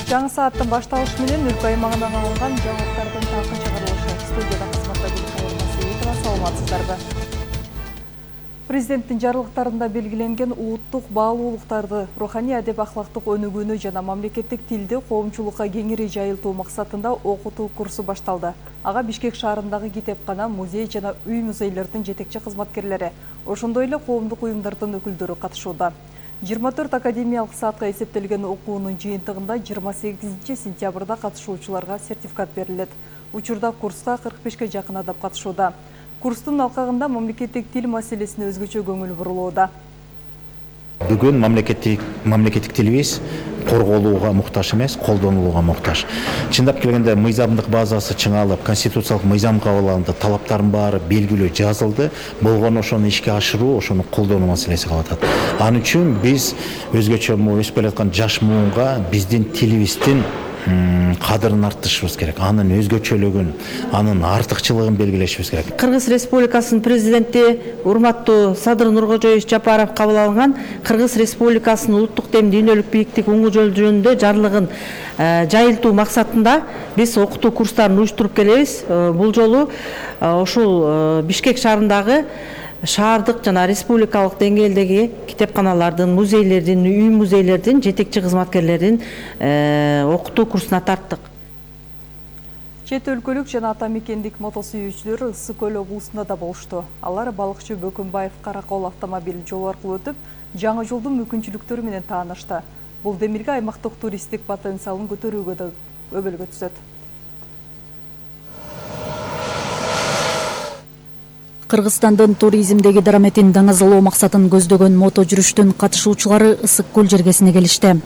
Жаңы сааттын башталышы менен өлкө аймагынан алынган жаңылыктардын талкын чыгарылышы. Студияда кызматта Гүлкайыр саламатсыздарбы? Президенттин жарлыктарында белгиленген улуттук баалуулуктарды, руханий адеп ахлактык өнүгүүнү жана мамлекеттик тилди коомчулукка кеңири жайылтуу максатында окутуу курсу башталды. Ага Бишкек шаарындагы китепкана, музей жана үй-музейлердин жетекчи кызматкерлери, ошондой эле коомдук уюмдардын өкүлдөрү катышууда. 24 академиялык саатка эсептелген окуунун жыйынтыгында 28 сентябрда катышуучуларга сертификат берилет. Учурда курска 45-ке жакын адам катышууда. Курстун алкагында мамлекеттик тил маселесине өзгөчө көңүл бурулууда. Бүгүн мамлекеттик тилибиз корголууга муктаж эмес, колдонулууга муктаж. Чындап келгенде мыйзамдык базасы чыңалып, конституциялык мыйзам кабыл алынды, талаптардын баары белгилүү жазылды. Болгону ошону ишке ашыруу, ошону колдонуу маселеси калып атат. Ал үчүн биз өзгөчө өсүп келаткан жаш муунга биздин тилибиздин кадырын арттырышыбыз керек, анын өзгөчөлүгүн, анын артыкчылыгын белгилешибиз керек. Кыргыз Республикасынын президенти урматтуу Садыр Нуркожоевич Жапаров кабыл алган Кыргыз Республикасынын улуттук дем дүйнөлүк бийиктик уңгу жол жөнүндө жарлыгын жайылтуу максатында биз окутуу курстарын уюштуруп келебиз. Бул жолу ушул Бишкек шаарындагы шаардык жана республикалык деңгээлдеги китепканалардын, музейлердин, үй-музейлердин жетекчи кызматкерлерин окутуу курсуна тарттык. Чет өлкөлүк жана ата мекендик мотосүйүүчүлөр Ысык Көл облусунда да болушту. Алар балыкчы Бөкөнбаев Каракол автомобиль жолу аркылуу өтүп, жаңы жолдун мүмкүнчүлүктөрү менен таанышты. Бул демилге аймактык туристтик потенциалын көтөрүүгө да өбөлгө түзөт. Кыргызстандын туризмдеги дараметин даңазалоо максатын көздөгөн мото жүрүштүн катышуучулары Ысык Көл жергесине келишти.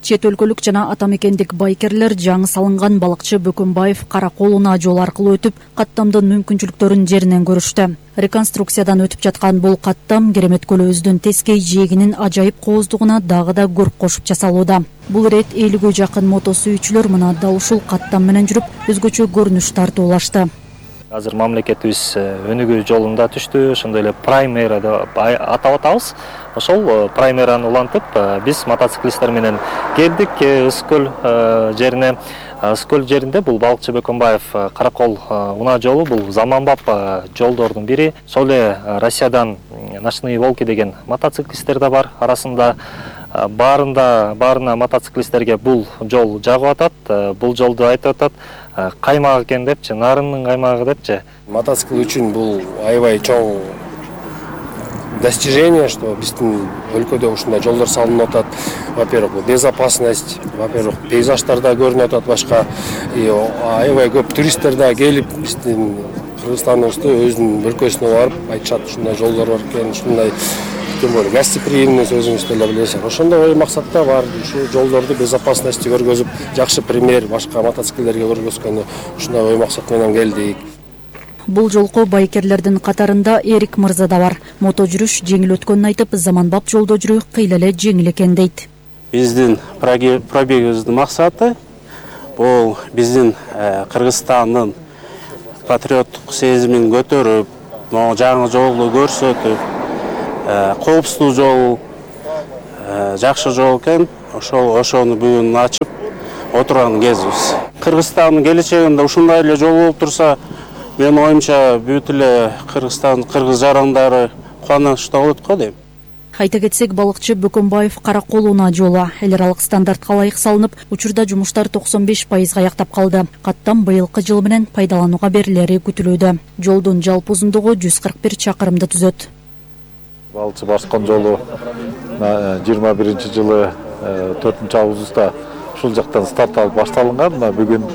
Чет өлкөлүк жана ата мекендик байкерлер жаңы салынган балыкчы Бөкөнбаев Каракол унаа жолу аркылуу өтүп, каттамдын мүмкүнчүлүктөрүн жеринен көрүштү. Реконструкциядан өтүп жаткан бул каттам Керемет көлүбүздүн тескей жээгинин ажайып кооздугуна дагы да көрк кошуп жасалууда. Бул ирет 50ге жакын мото сүйүүчүлөр мына дал ушул каттам менен жүрүп, өзгөчө көрүнүш тартуулашты. Азыр мамлекетибиз өнүгүү жолунда түштү, ошондой эле праймера деп атап атабыз. Ошол праймераны улантып, биз мотоциклисттер менен келдик Ысык Көл жерине. Ысык Көл жеринде бул балыкчы Бөкөнбаев Каракол унаа жолу бул заманбап жолдордун бири. Сол эле Россиядан Ночные волки деген мотоциклисттер да бар арасында. Баарына мотоциклисттерге бул жол жагып атат. Бул жолду айтып атат каймак экен депчи, нарынын каймагы депчи. Мотоцикл үчүн бул аябай чоң достижение, что биздин өлкөдө ушундай жолдор салынып атат. Во-первых, безопасность, во-первых, пейзаждарда көрүнүп атат башка. Аябай көп туристтер да келип биздин Кыргызстаныбызды өзүнүн өлкөсүнө барып айтышат, ушундай жолдор бар экен, ушундай тем более гостеприимность өзүңүз деле билесиз. Ошондой максатта бар ушу жолдорду безопасности көргөзүп, жакшы пример башка мотоциклдерге көргөзгөнү ушундай ой максат менен келдик. Бул жолку байкерлердин катарында Эрик мырза да бар. Мото жүрүш жеңил өткөнүн айтып, заманбап жолдо жүрүү кыйла эле жеңил экен дейт. Биздин пробегибиздин максаты бул биздин Кыргызстандын патриоттук сезимин көтөрүп, жаңы жолду көрсөтүп, коопсуздуу жол, жакшы жол экен, ошону бүгүн ачып отурган кезибиз. Кыргызстандын келечегинде ушундай эле жол болуп турса, менин оюмча бүт эле кыргыз жарандары кубанычта болот го дейм. Айта кетсек, балыкчы Бөкөнбаев Каракол унаа жолу эл аралык стандартка ылайык салынып, учурда жумуштар 95% аяктап калды. Каттам быйылкы жыл менен пайдаланууга берилери күтүлүүдө. Жолдун жалпы узундугу 141 чакырымды түзөт. Балыкчы Барскон жолу 21-жылы 4-августта ушул жактан старт алып башталган. Бүгүн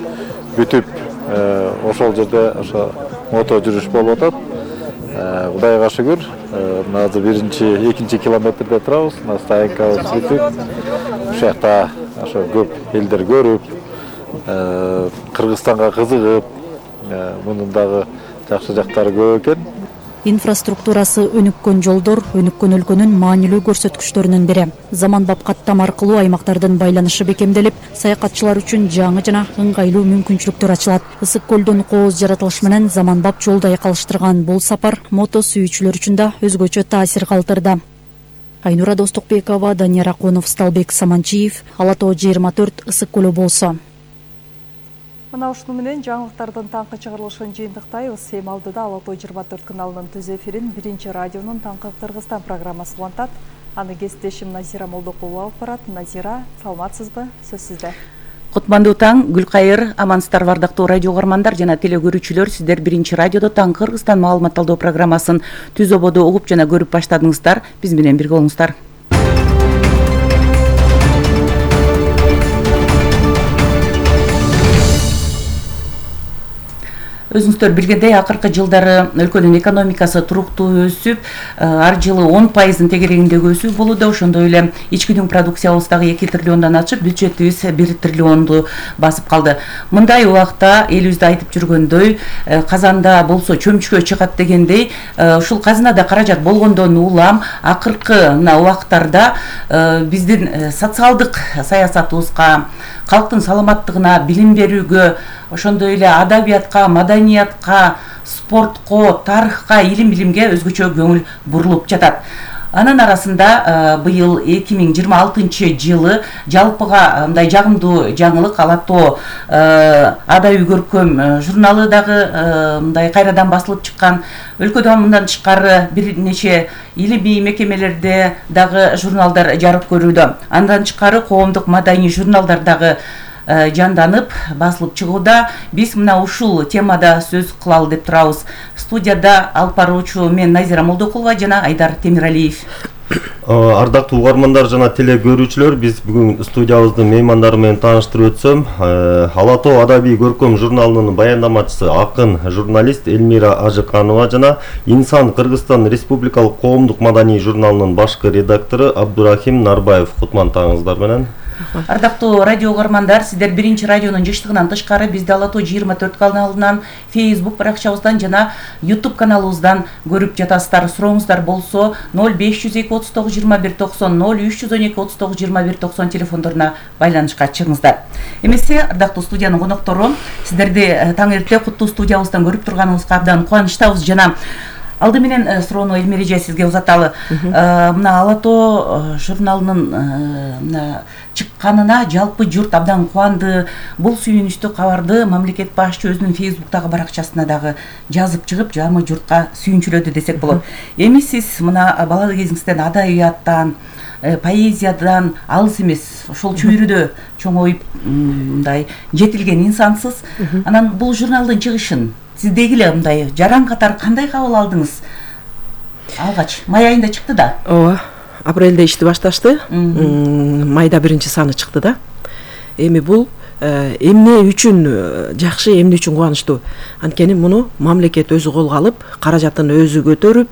бүтүп ошол жерде ошо мото жүрүш болуп атат. Кудайга шүгүр, азыр 1-2 километрде турабыз. Стоянкабыз бүтүп, ушул жакта ошо көп элдер көрүп, Кыргызстанга кызыгып, мунун дагы жакшы жактары көп экен. Инфраструктурасы өнүккөн жолдор өнүккөн өлкөнүн маанилүү көрсөткүчтөрүнүн бири. Заманбап каттам аркылуу аймактардын байланышы бекемделип, саякатчылар үчүн жаңы жана ыңгайлуу мүмкүнчүлүктөр ачылат. Ысык көлдүн кооз жаратылышы менен заманбап жолду айкалыштырган бул сапар мото сүйүүчүлөр үчүн да өзгөчө таасир калтырды. Айнура Достукбекова, Данияр Акунов, Сталбек Саманчиев, Ала Тоо 24, Ысык көлү болсо. Мына ушуну менен жаңылыктардын таңкы чыгарылышын жыйынтыктайбыз. Эми алдыда Ала Тоо 24 каналынын түз эфирин Биринчи радионун Таңкы Кыргызстан программасы улантат. Аны кесиптешим Назира Молдокулова алып барат. Назира, саламатсызбы? Сөз сизде. Кутмандуу таң, Гүлкайыр, амансыздарбы ардактуу радио угармандар жана телекөрүүчүлөр. Сиздер Биринчи радиодо Таңкы Кыргызстан маалыматталдоо программасын түз ободо угуп жана көрүп баштадыңыздар. Биз менен бирге болуңуздар. Өзүңүздөр билгендей, акыркы жылдары өлкөнүн экономикасы туруктуу өсүп, ар жылы 10% тегерегиндеги өсүү болууда. Ошондой эле ички продукциябыз дагы 2 триллиондон ашып, бюджетибиз 1 триллионду басып калды. Мындай убакта элибизде айтып жүргөндөй, казанда болсо чөмчкө чыгат дегендей, ушул казынада каражат болгондон улам акыркы мына убактарда биздин социалдык саясатыбызга, калктын саламаттыгына, билим берүүгө, ошондой эле адабиятка, маданиятка, спортко, тарыхка, илим-билимге өзгөчө көңүл бурулуп жатат. Анын арасында быйыл 2026 жылы жалпыга мындай жагымдуу жаңылык Ала Тоо адабий көркөм журналы дагы мындай кайрадан басылып чыккан. Өлкөдө мындан тышкары бир нече илимий мекемелерде дагы журналдар жарык көрүүдө. Андан тышкары коомдук маданий журналдар дагы жанданып басылып чыгууда. Биз мына ушул темада сөз кылалы деп турабыз. Студияда алып баруучу мен Назира Молдокулова жана Айдар Темиралиев. Ардактуу угармандар жана телекөрүүчүлөр, биз бүгүн студиябыздын меймандары менен тааныштырып өтсөм, Ала Тоо адабий көркөм журналынын баяндамачысы, акын, журналист Элмира Ажыканова жана Инсан Кыргызстан Республикалык коомдук маданий журналынын башкы редактору Абдурахим Нарбаев. Кутман таңыңыздар менен. Ардактуу радио угармандар, сиздер Биринчи радионун жыштыгынан тышкары бизди Ала Тоо 24 каналынан, Facebook баракчабыздан жана YouTube каналыбыздан көрүп жатасыздар. Сурооңуздар болсо 0502 39 21 90 0312 39 21 90 телефондоруна байланышка чыгыңыздар. Эмесе, ардактуу студиянын коноктору, сиздерди таң эрте куттуу студиябыздан көрүп турганыбызга абдан кубанычтабыз жана алды менен суроону Элмира эже сизге узаталы. Мына Ала Тоо журналынын мына чыкканына жалпы журт абдан кубанды. Бул сүйүнүчтүү кабарды мамлекет башчы өзүнүн Facebook'тагы баракчасына дагы жазып чыгып, жарымы журтка сүйүнчүлөдү десек болот. Эми сиз мына бала кезиңизден адабияттан, поэзиядан алыс эмес, ошол чөйрөдө чоңоюп мындай жетилген инсансыз. Анан бул журналдын чыгышын сиздеги эле мындай жаран катары кандай кабыл алдыңыз? Алгач май айында чыкты да. Ооба, апрелде ишти башташты. Майда биринчи саны чыкты да. Эми бул эмне үчүн жакшы, эмне үчүн кубанычтуу? Анткени муну мамлекет өзү колго алып, каражатын өзү көтөрүп,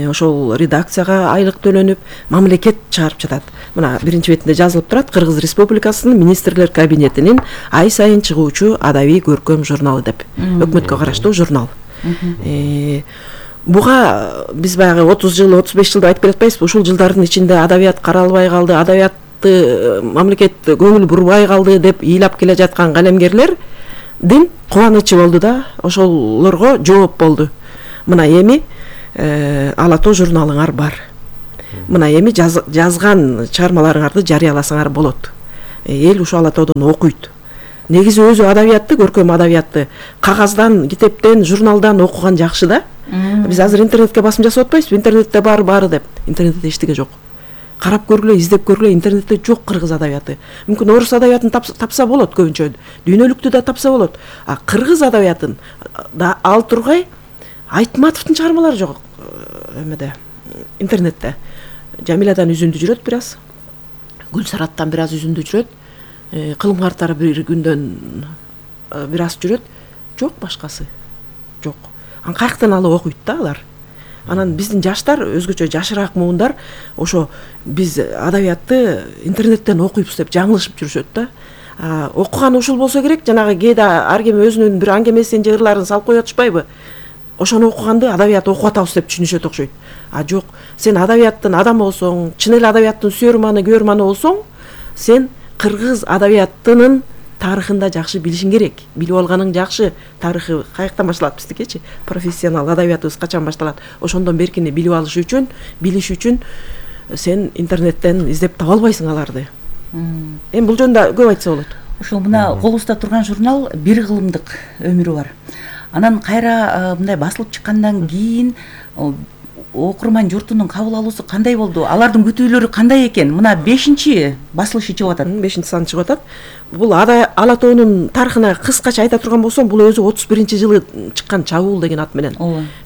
ошол редакцияга айлык төлөнүп, мамлекет чыгарып жатат. Мына биринчи бетинде жазылып турат: Кыргыз Республикасынын министрлер кабинетинин ай сайын чыгуучу адабий көркөм журналы деп. Өкмөткө караштуу журнал. Буга биз баягы 30 жыл, 35 жылда айтып келатпайбызбы? Ушул жылдардын ичинде адабият каралбай калды, адабиятты мамлекет көңүл бурбай калды деп ыйлап келе жаткан калемгерлердин кубанычы болду да, ошолорго жооп болду. Мына эми Ала Тоо журналыңар бар. Мына эми жазган чыгармаларыңарды жарыяласаңар болот. Эл ушу Ала Тоодон окуйт. Негизи өзү адабиятты, көркөм адабиятты кагаздан, китептен, журналдан окуган жакшы да. Биз азыр интернетке басым жасап атпайбызбы? Интернетте баары деп. Интернетте эчтеге жок. Карап көргүлө, издеп көргүлө, интернетте жок кыргыз адабияты. Мүмкүн орус адабиятын тапса болот көбүнчө. Дүйнөлүктү да тапса болот. А кыргыз адабиятын да ал тургай Айтматовдун чыгармалары жок эмеде, интернетте. Жамиладан үзүндү жүрөт бир аз. Гүлсараттан бир аз үзүндү жүрөт. Кылым картары бир күндөн бир аз жүрөт. Жок башкасы. Жок. Каяктан алып окуйт да алар. Анан биздин жаштар, өзгөчө жашыраак муундар, ошо биз адабиятты интернеттен окуйбуз деп жаңылышып жүрүшөт да. Окуган ушул болсо керек, жанагы кээде ар ким өзүнүн бир аңгемесин же ырларын салып коюп атышпайбы? Ошону окуганды адабият окуп атабыз деп түшүнүшөт окшойт. Жок, сен адабияттын адамы болсоң, чын эле адабияттын сүйөрманы, көрманы болсоң, сен кыргыз адабиятынын тарыхында жакшы билишиң керек. Билип алганың жакшы. Тарыхы каяктан башталат биздикичи? Профессионал адабиятыбыз качан башталат? Ошондон беркини билип алыш үчүн, билиш үчүн сен интернеттен издеп таба албайсың аларды. Эми бул жөнүндө көп айтса болот. Ошол мына колубузда турган журнал бир кылымдык өмүрү бар. Анан кайра мындай басылып чыккандан кийин окурман журтунун кабыл алуусу кандай болду? Алардын күтүүлөрү кандай экен? Мына 5-чи басылышы чыгып атат. 5-чи сан чыгып атат. Бул Ала тоонун тарыхына кыскача айта турган болсом, бул өзү 31-жылы чыккан Чабуул деген ат менен.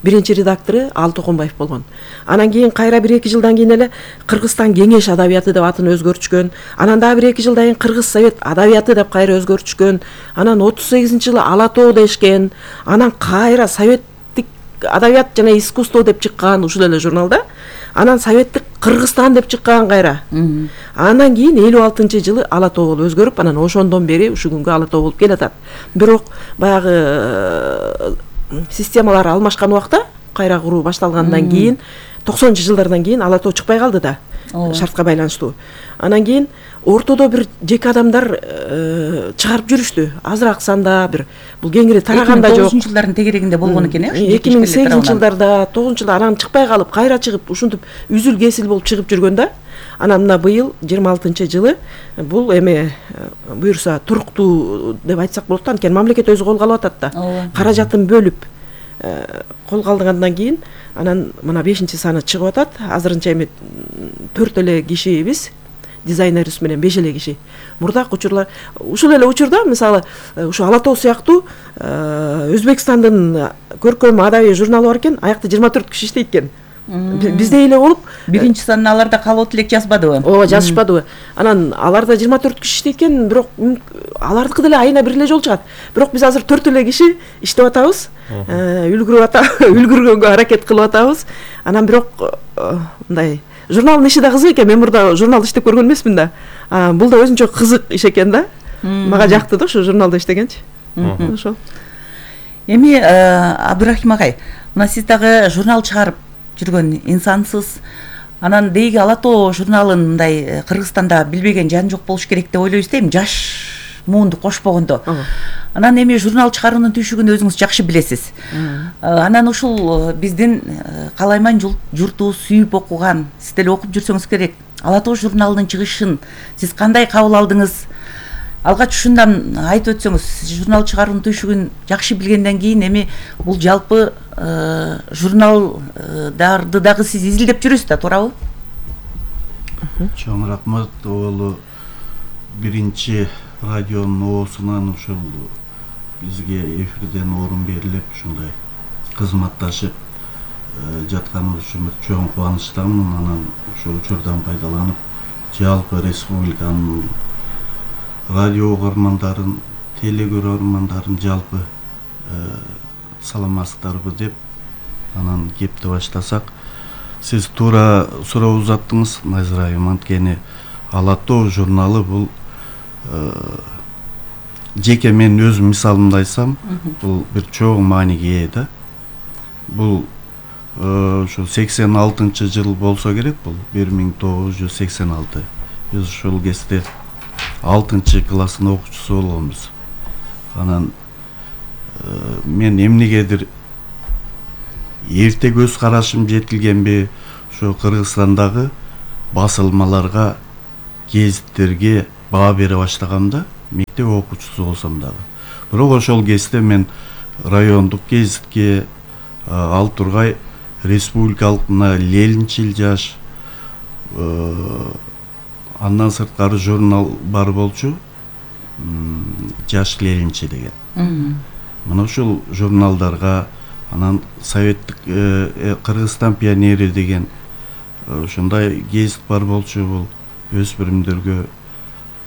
Биринчи редактору Алы Токонбаев болгон. Анан кийин кайра 1-2 жылдан кийин эле Кыргызстан кеңеш адабияты деп атын өзгөртүшкөн. Анан дагы 1-2 жылдан кийин Кыргыз совет адабияты деп кайра өзгөртүшкөн. Анан 38-жылы Ала тоо дешкен. Анан кайра совет адабият жана искусство деп чыккан ушул эле журналда. Анан советтик Кыргызстан деп чыккан кайра. Андан кийин 56-жылы Ала тоо болуп өзгөрүп, анан ошондон бери ушул күнгө Ала тоо болуп келатат. Бирок баягы системалар алмашкан убакта, кайра куруу башталгандан кийин 90-жылдардан кийин Ала тоо чыкпай калды да. Шартка байланыштуу. Анан кийин ортодо бир жеке адамдар чыгарып жүрүштү. Азыраак санда бир бул кеңири тараганда жок. 2009-жылдардын тегерегинде болгон экен, 2008-жылдарда, 9-жылда анан чыкпай калып, кайра чыгып, ушинтип үзүл-кесил болуп чыгып жүргөн да. Анан мына быйыл 26-жылы бул эми буюрса туруктуу деп айтсак болот да, анткени мамлекет өзү колго алып атат да. Каражатын бөлүп колго алгандан кийин анан мына 5-чи саны чыгып атат. Азырынча эми 4 эле кишибиз, дизайнерибиз менен 5 эле киши. Мурдак учурлар, ушул эле учурда мисалы ушу Ала тоо сыяктуу Өзбекстандын көркөм адабий журналы бар экен, аякта 24 киши иштейт экен. Бизде эле болуп, 1-чи санын аларда калып элек жазбадыбы? Ооба, жазышпадыбы. Анан аларда 24 киши иштейт экен, бирок алардыкы деле айына бир эле жол чыгат. Бирок биз азыр 4 эле киши иштеп атабыз. Үлгүргөнгө аракет кылып атабыз. Анан бирок мындай журналдын иши да кызык экен. Мен мурда журналда иштеп көргөн эмесмин да. Бул да өзүнчө кызык иш экен да. Мага жакты да ушу журналда иштегенчи. Ошол. Эми Абдрахим агай, мына сиз дагы журнал чыгарып жүргөн инсансыз. Анан дейги Ала тоо журналын мындай Кыргызстанда билбеген жан жок болуш керек деп ойлойбуз дейм, жаш муунду кошпогондо. Анан эми журнал чыгаруунун түйшүгүн өзүңүз жакшы билесиз. Анан ушул биздин калайман журту сүйүп окуган, сиз деле окуп жүрсөңүз керек, Ала тоо журналынын чыгышын сиз кандай кабыл алдыңыз? Алгач ушундан айтып өтсөңүз, журнал чыгаруунун түйшүгүн жакшы билгенден кийин эми бул жалпы журналдарды дагы сиз изилдеп жүрөсүз да, туурабы? Чоң рахмат. Ол биринчи радионун оосунан ушул бизге эфирден орун берилип, ушундай кызматташып жатканыбыз үчүн чоң кубанычтамын. Анан ошол учурдан пайдаланып, жалпы республиканын радио угармандарын, телекөрөрмандарын жалпы саламатсыздарбы деп анан кепти баштасак, сиз туура суроо узаттыңыз, Назира айым. Анткени Ала тоо журналы бул жеке мен өзүм мисалымды айтсам, бул бир чоң мааниге ээ да. Бул ошо 86-жыл болсо керек, бул 1986. Биз ушул кезде 6-класстын окуучусу болгонбуз. Анан мен эмнегедир эрте көз карашым жетилгенби, ошо Кыргызстандагы басылмаларга, гезиттерге баа бере баштаганымда, мектеп окуучусу болсом дагы. Бирок ошол кезде мен райондук гезитке, Ал Тургай республикалык мына Ленинчил жаш, андан сырткары журнал бар болчу, Жаш Ленинчи деген. Мына ушул журналдарга, анан советтик Кыргызстан пионери деген ушундай гезит бар болчу, бул өспүрүмдөргө,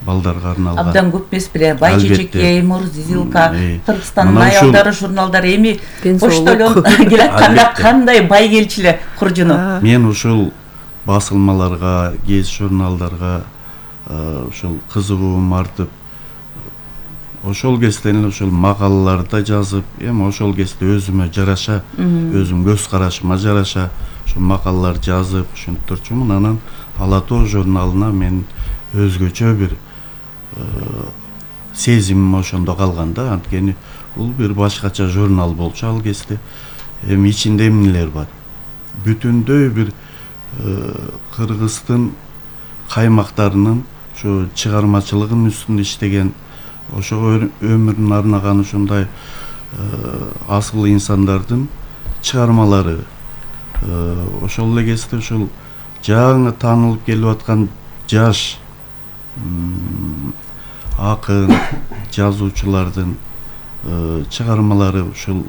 балдарга арналган. Абдан көп эмес беле, Бай Чечекей, Мурзилка, Кыргызстандын аялдары журналдары эми поштолон келатканда кандай бай келчү эле куржуну. Мен ушул басылмаларга, гезит журналдарга ушул кызыгуум артып, ошол кезден ошол макалаларды жазып, эми ошол кезде өзүмө жараша, өзүм көз карашыма жараша ошол макалалар жазып ушинтип турчумун. Анан Ала тоо журналына мен өзгөчө бир сезимим ошондо калган да, анткени бул бир башкача журнал болчу ал кезде. Эми ичинде эмнелер бар? Бүтүндөй бир Кыргыздын каймактарынын ушу чыгармачылыгынын үстүндө иштеген, ошого өмүрүн арнаган ушундай асыл инсандардын чыгармалары, ошол эле кезде ушул жаңы таанылып келип аткан жаш акын, жазуучулардын чыгармалары ушул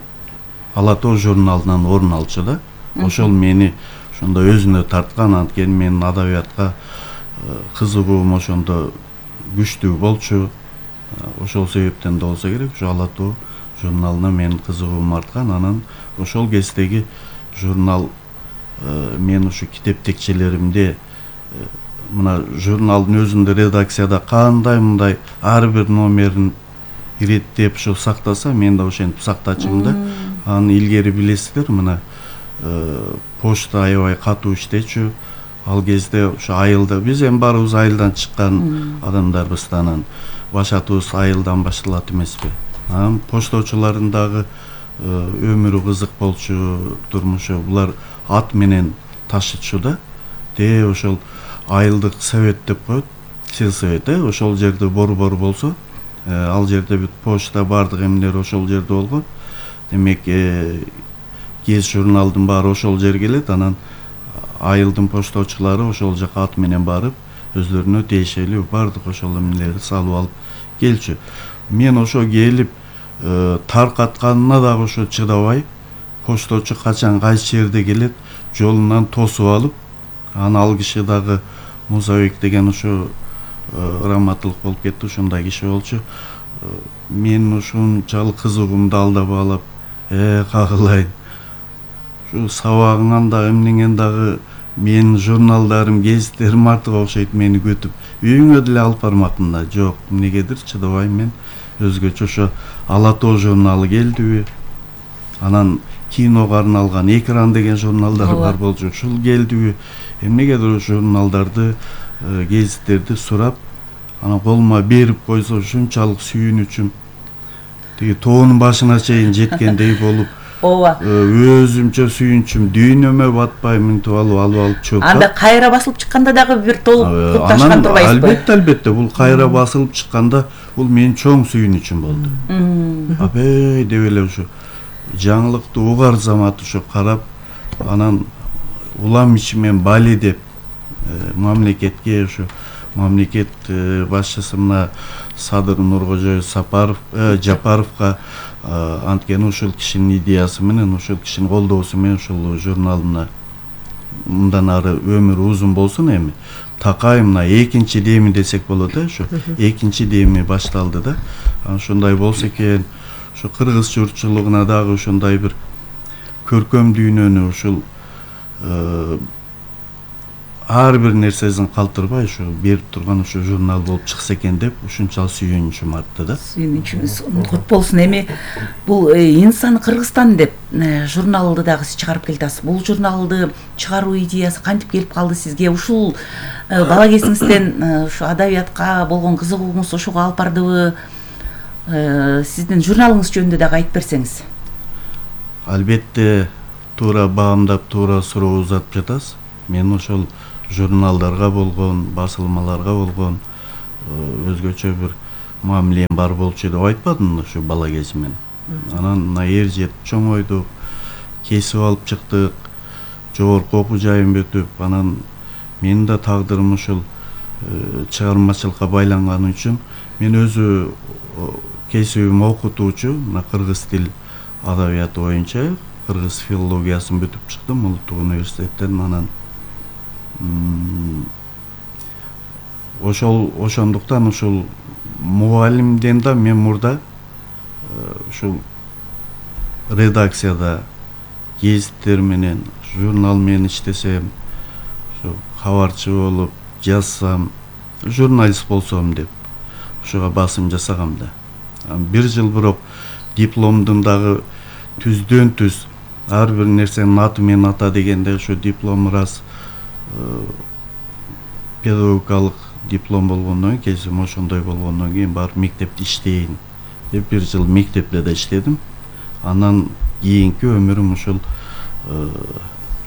Ала тоо журналынан орун алчу да. Ошол мени ошондо өзүнө тарткан, анткени менин адабиятка кызыгуум ошондо күчтүү болчу. Ошол себептен да болсо керек, ушу Ала тоо журналына менин кызыгуум арткан. Анан ошол кездеги журнал мен ушу китеп текчелеримде мына журналдын өзүндө редакцияда кандай мындай ар бир номерин иреттеп ушу сактаса, мен да ошентип сактачумун да. Аны илгери билесиздер, мына почта аябай катуу иштечү. Ал кезде ушу айылда биз эми баарыбыз айылдан чыккан адамдарбыз, анан башатыбыз айылдан башталат эмеспи. Анан пошточулардын дагы өмүрү кызык болчу, турмушу. Булар ат менен ташычу да. Ошол айылдык совет деп коет, сельсовет, ошол жерде борбор болсо, ал жерде бүт почта бардык эмнелер ошол жерде болгон. Демек, кез журналдын баары ошол жерге келет, анан айылдын пошточулары ошол жака ат менен барып, өздөрүнө тиешелүү бардык ошол эмнелерди салып алып келчү. Мен ошо келип таркатканына дагы ошо чыдабай, пошточу качан кайсы жерде келет, жолунан тосуп алып, аны ал киши дагы Мусабек деген ошо раматылык болуп кетти, ушундай киши болчу. Мен ушунчалык кызыгуумду алдап алып, кагылайын. Ушу сабагыңан дагы эмнеңен дагы менин журналдарым, гезиттерим артык окшойт мени күтүп. Үйүңө деле алып бармактын да. Жок, эмнегедир чыдабай мен өзгөчө ошо Ала тоо журналы келдиби. Анан киного арналган Экран деген журналдар бар болчу. Ушул келдиби. Эмнегедир ошо журналдарды, гезиттерди сурап, анан колума берип койсо ушунчалык сүйүнүчүм. Тиги тоонун башына чейин жеткендей болуп, өзүмчө сүйүнчүм, дүйнөмө батпай мынтип алып чыгып. Анда кайра басылып чыкканда дагы бир толук кутташкан турбайсызбы? Албетте, бул кайра басылып чыкканда бул менин чоң сүйүнүчүм болду. Абей деп эле ушу жаңылыкты угар замат ушу карап, анан улам ичимен бали деп мамлекетке ушу мамлекет башчысы мына Садыр Нуркожоев Жапаровго, анткени ушул кишинин идеясы менен, ушул кишинин колдоосу менен ушул журналына мындан ары өмүрү узун болсун, эми такай мына экинчи деми десек болот, ушу экинчи деми башталды да. Ошондой болсо экен, ушу кыргыз журтчулугуна дагы ошондой бир көркөм дүйнөнү ушул ар бир нерсесин калтырбай ушу берип турган ушу журнал болуп чыкса экен деп ушунчалык сүйүнүчүм артты да. Сүйүнүчүңүз кут болсун. Эми бул Инсан Кыргызстан деп журналды дагы сиз чыгарып келатасыз. Бул журналды чыгаруу идеясы кантип келип калды сизге? Ушул бала кезиңизден ушу адабиятка болгон кызыгууңуз ошого алып бардыбы? Сиздин журналыңыз жөнүндө дагы айтып берсеңиз. Албетте, туура баамдап, туура суроо узатып жатасыз. Мен ошол журналдарга болгон, басылмаларга болгон өзгөчө бир мамилем бар болчу деп айтпадым ушу бала кезимден. Анан мына эр жетип чоңойдук, кесип алып чыктык, жогорку окуу жайын бүтүп, анан менин да тагдырым ушул чыгармачылыкка байланганы үчүн мен өзү кесибим окутуучу, мына кыргыз тил адабияты боюнча кыргыз филологиясын бүтүп чыктым Улуттук университеттен. Анан ошондуктан ушул мугалимден да мен мурда ушул редакцияда гезиттер менен, журнал менен иштесем, ушу кабарчы болуп жазсам, журналист болсом деп ушуга басым жасагам да. Бир жыл бирок дипломдун дагы түздөн түз ар бир нерсенин аты менен ата дегенде ушу диплом раз педагогикалык диплом болгондон кийин, кесим ошондой болгондон кийин барып мектепте иштейин деп бир жыл мектепте да иштедим. Анан кийинки өмүрүм ушул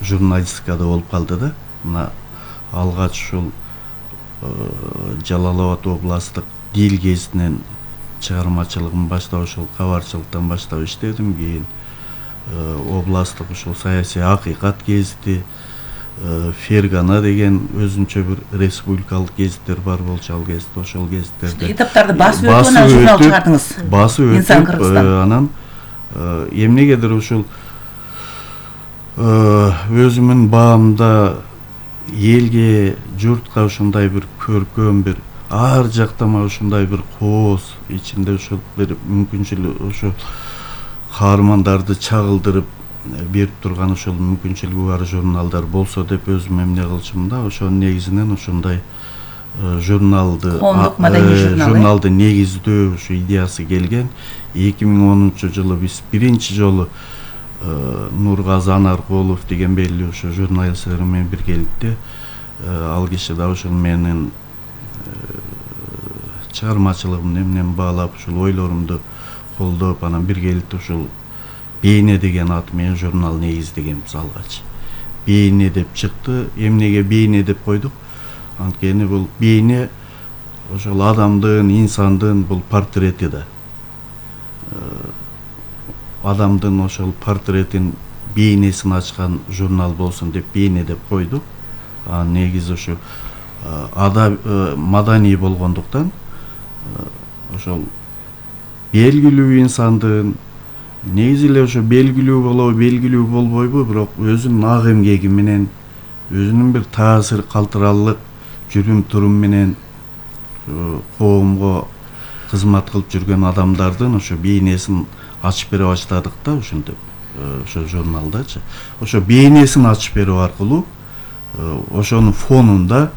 журналистикада болуп калды да. мына алгач ушул Жалал Абад областтык дил гезитинен чыгармачылыгын баштап ушул кабарчылыктан баштап иштедим. Кийин областтык ушул саясий акыйкат гезити, Фергана деген өзүнчө бир республикалык гезиттер бар болчу, ал гезит ошол гезиттерде этаптарды басып өтүп анан журнал чыгардыңыз. Басып Инсан өтүп Кыргызстан. анан эмнегедир ушул өзүмүн баамда элге, журтка ушундай бир көркөм бир ар жактама ушундай бир кооз ичинде ушул бир мүмкүнчүлүк ошо каармандарды чагылдырып берип турган ошол мүмкүнчүлүгү бар журналдар болсо деп өзүм эмне кылчумун да, ошонун негизинен ушундай журналды Коомдук маданий журнал, журналды негиздөө ушу идеясы келген. 2010-жылы биз биринчи жолу Нургазы Анаркулов деген белгилүү ошо журналисттер менен биргеликте ал киши да ошол менин чыгармачылыгымды эмнени баалап ушул ойлорумду колдоп анан биргеликте ушул Бейне деген аты менен журнал негиздегенбиз алгач. Бейне деп чыкты. Эмнеге Бейне деп койдук? Анткени бул бейне ошол адамдын, инсандын бул портрети да. Адамдын ошол портретин бейнесин ачкан журнал болсун деп Бейне деп койдук. Негизи ошо маданий болгондуктан ошол белгилүү инсандын негизи эле ошо белгилүү болобу, белгилүү болбойбу, бирок өзүнүн ак эмгеги менен, өзүнүн бир таасир калтыралык жүрүм турум менен коомго кызмат кылып жүргөн адамдардын ошо бейнесин ачып бере баштадык да, ошентип ошо журналдачы. Ошо бейнесин ачып берүү аркылуу ошонун фонунда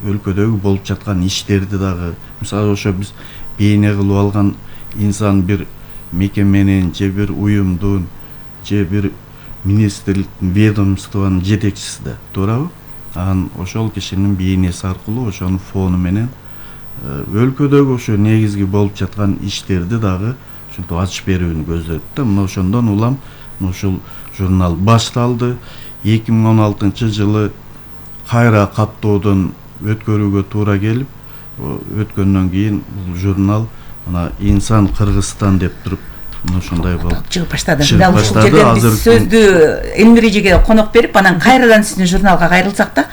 өлкөдөгү болуп жаткан иштерди дагы, мисалы ошо биз бейне кылып алган инсан бир мекеменин же бир уюмдун же бир министрликтин, ведомствонун жетекчиси да, туурабы? Анан ошол кишинин бейнеси аркылуу ошонун фону менен өлкөдөгү ошо негизги болуп жаткан иштерди дагы ушинтип ачып берүүнү көздөдүк да. Мына ошондон улам ушул журнал башталды. 2016-жылы кайра каттоодон өткөрүүгө туура келип, өткөндөн кийин бул журнал мына Инсан Кыргызстан деп туруп ушундай болуп чыгып баштады. Дал ушул жерден биз сөздү Элмир эжеге конок берип, анан кайрадан сиздин журналга кайрылсак да.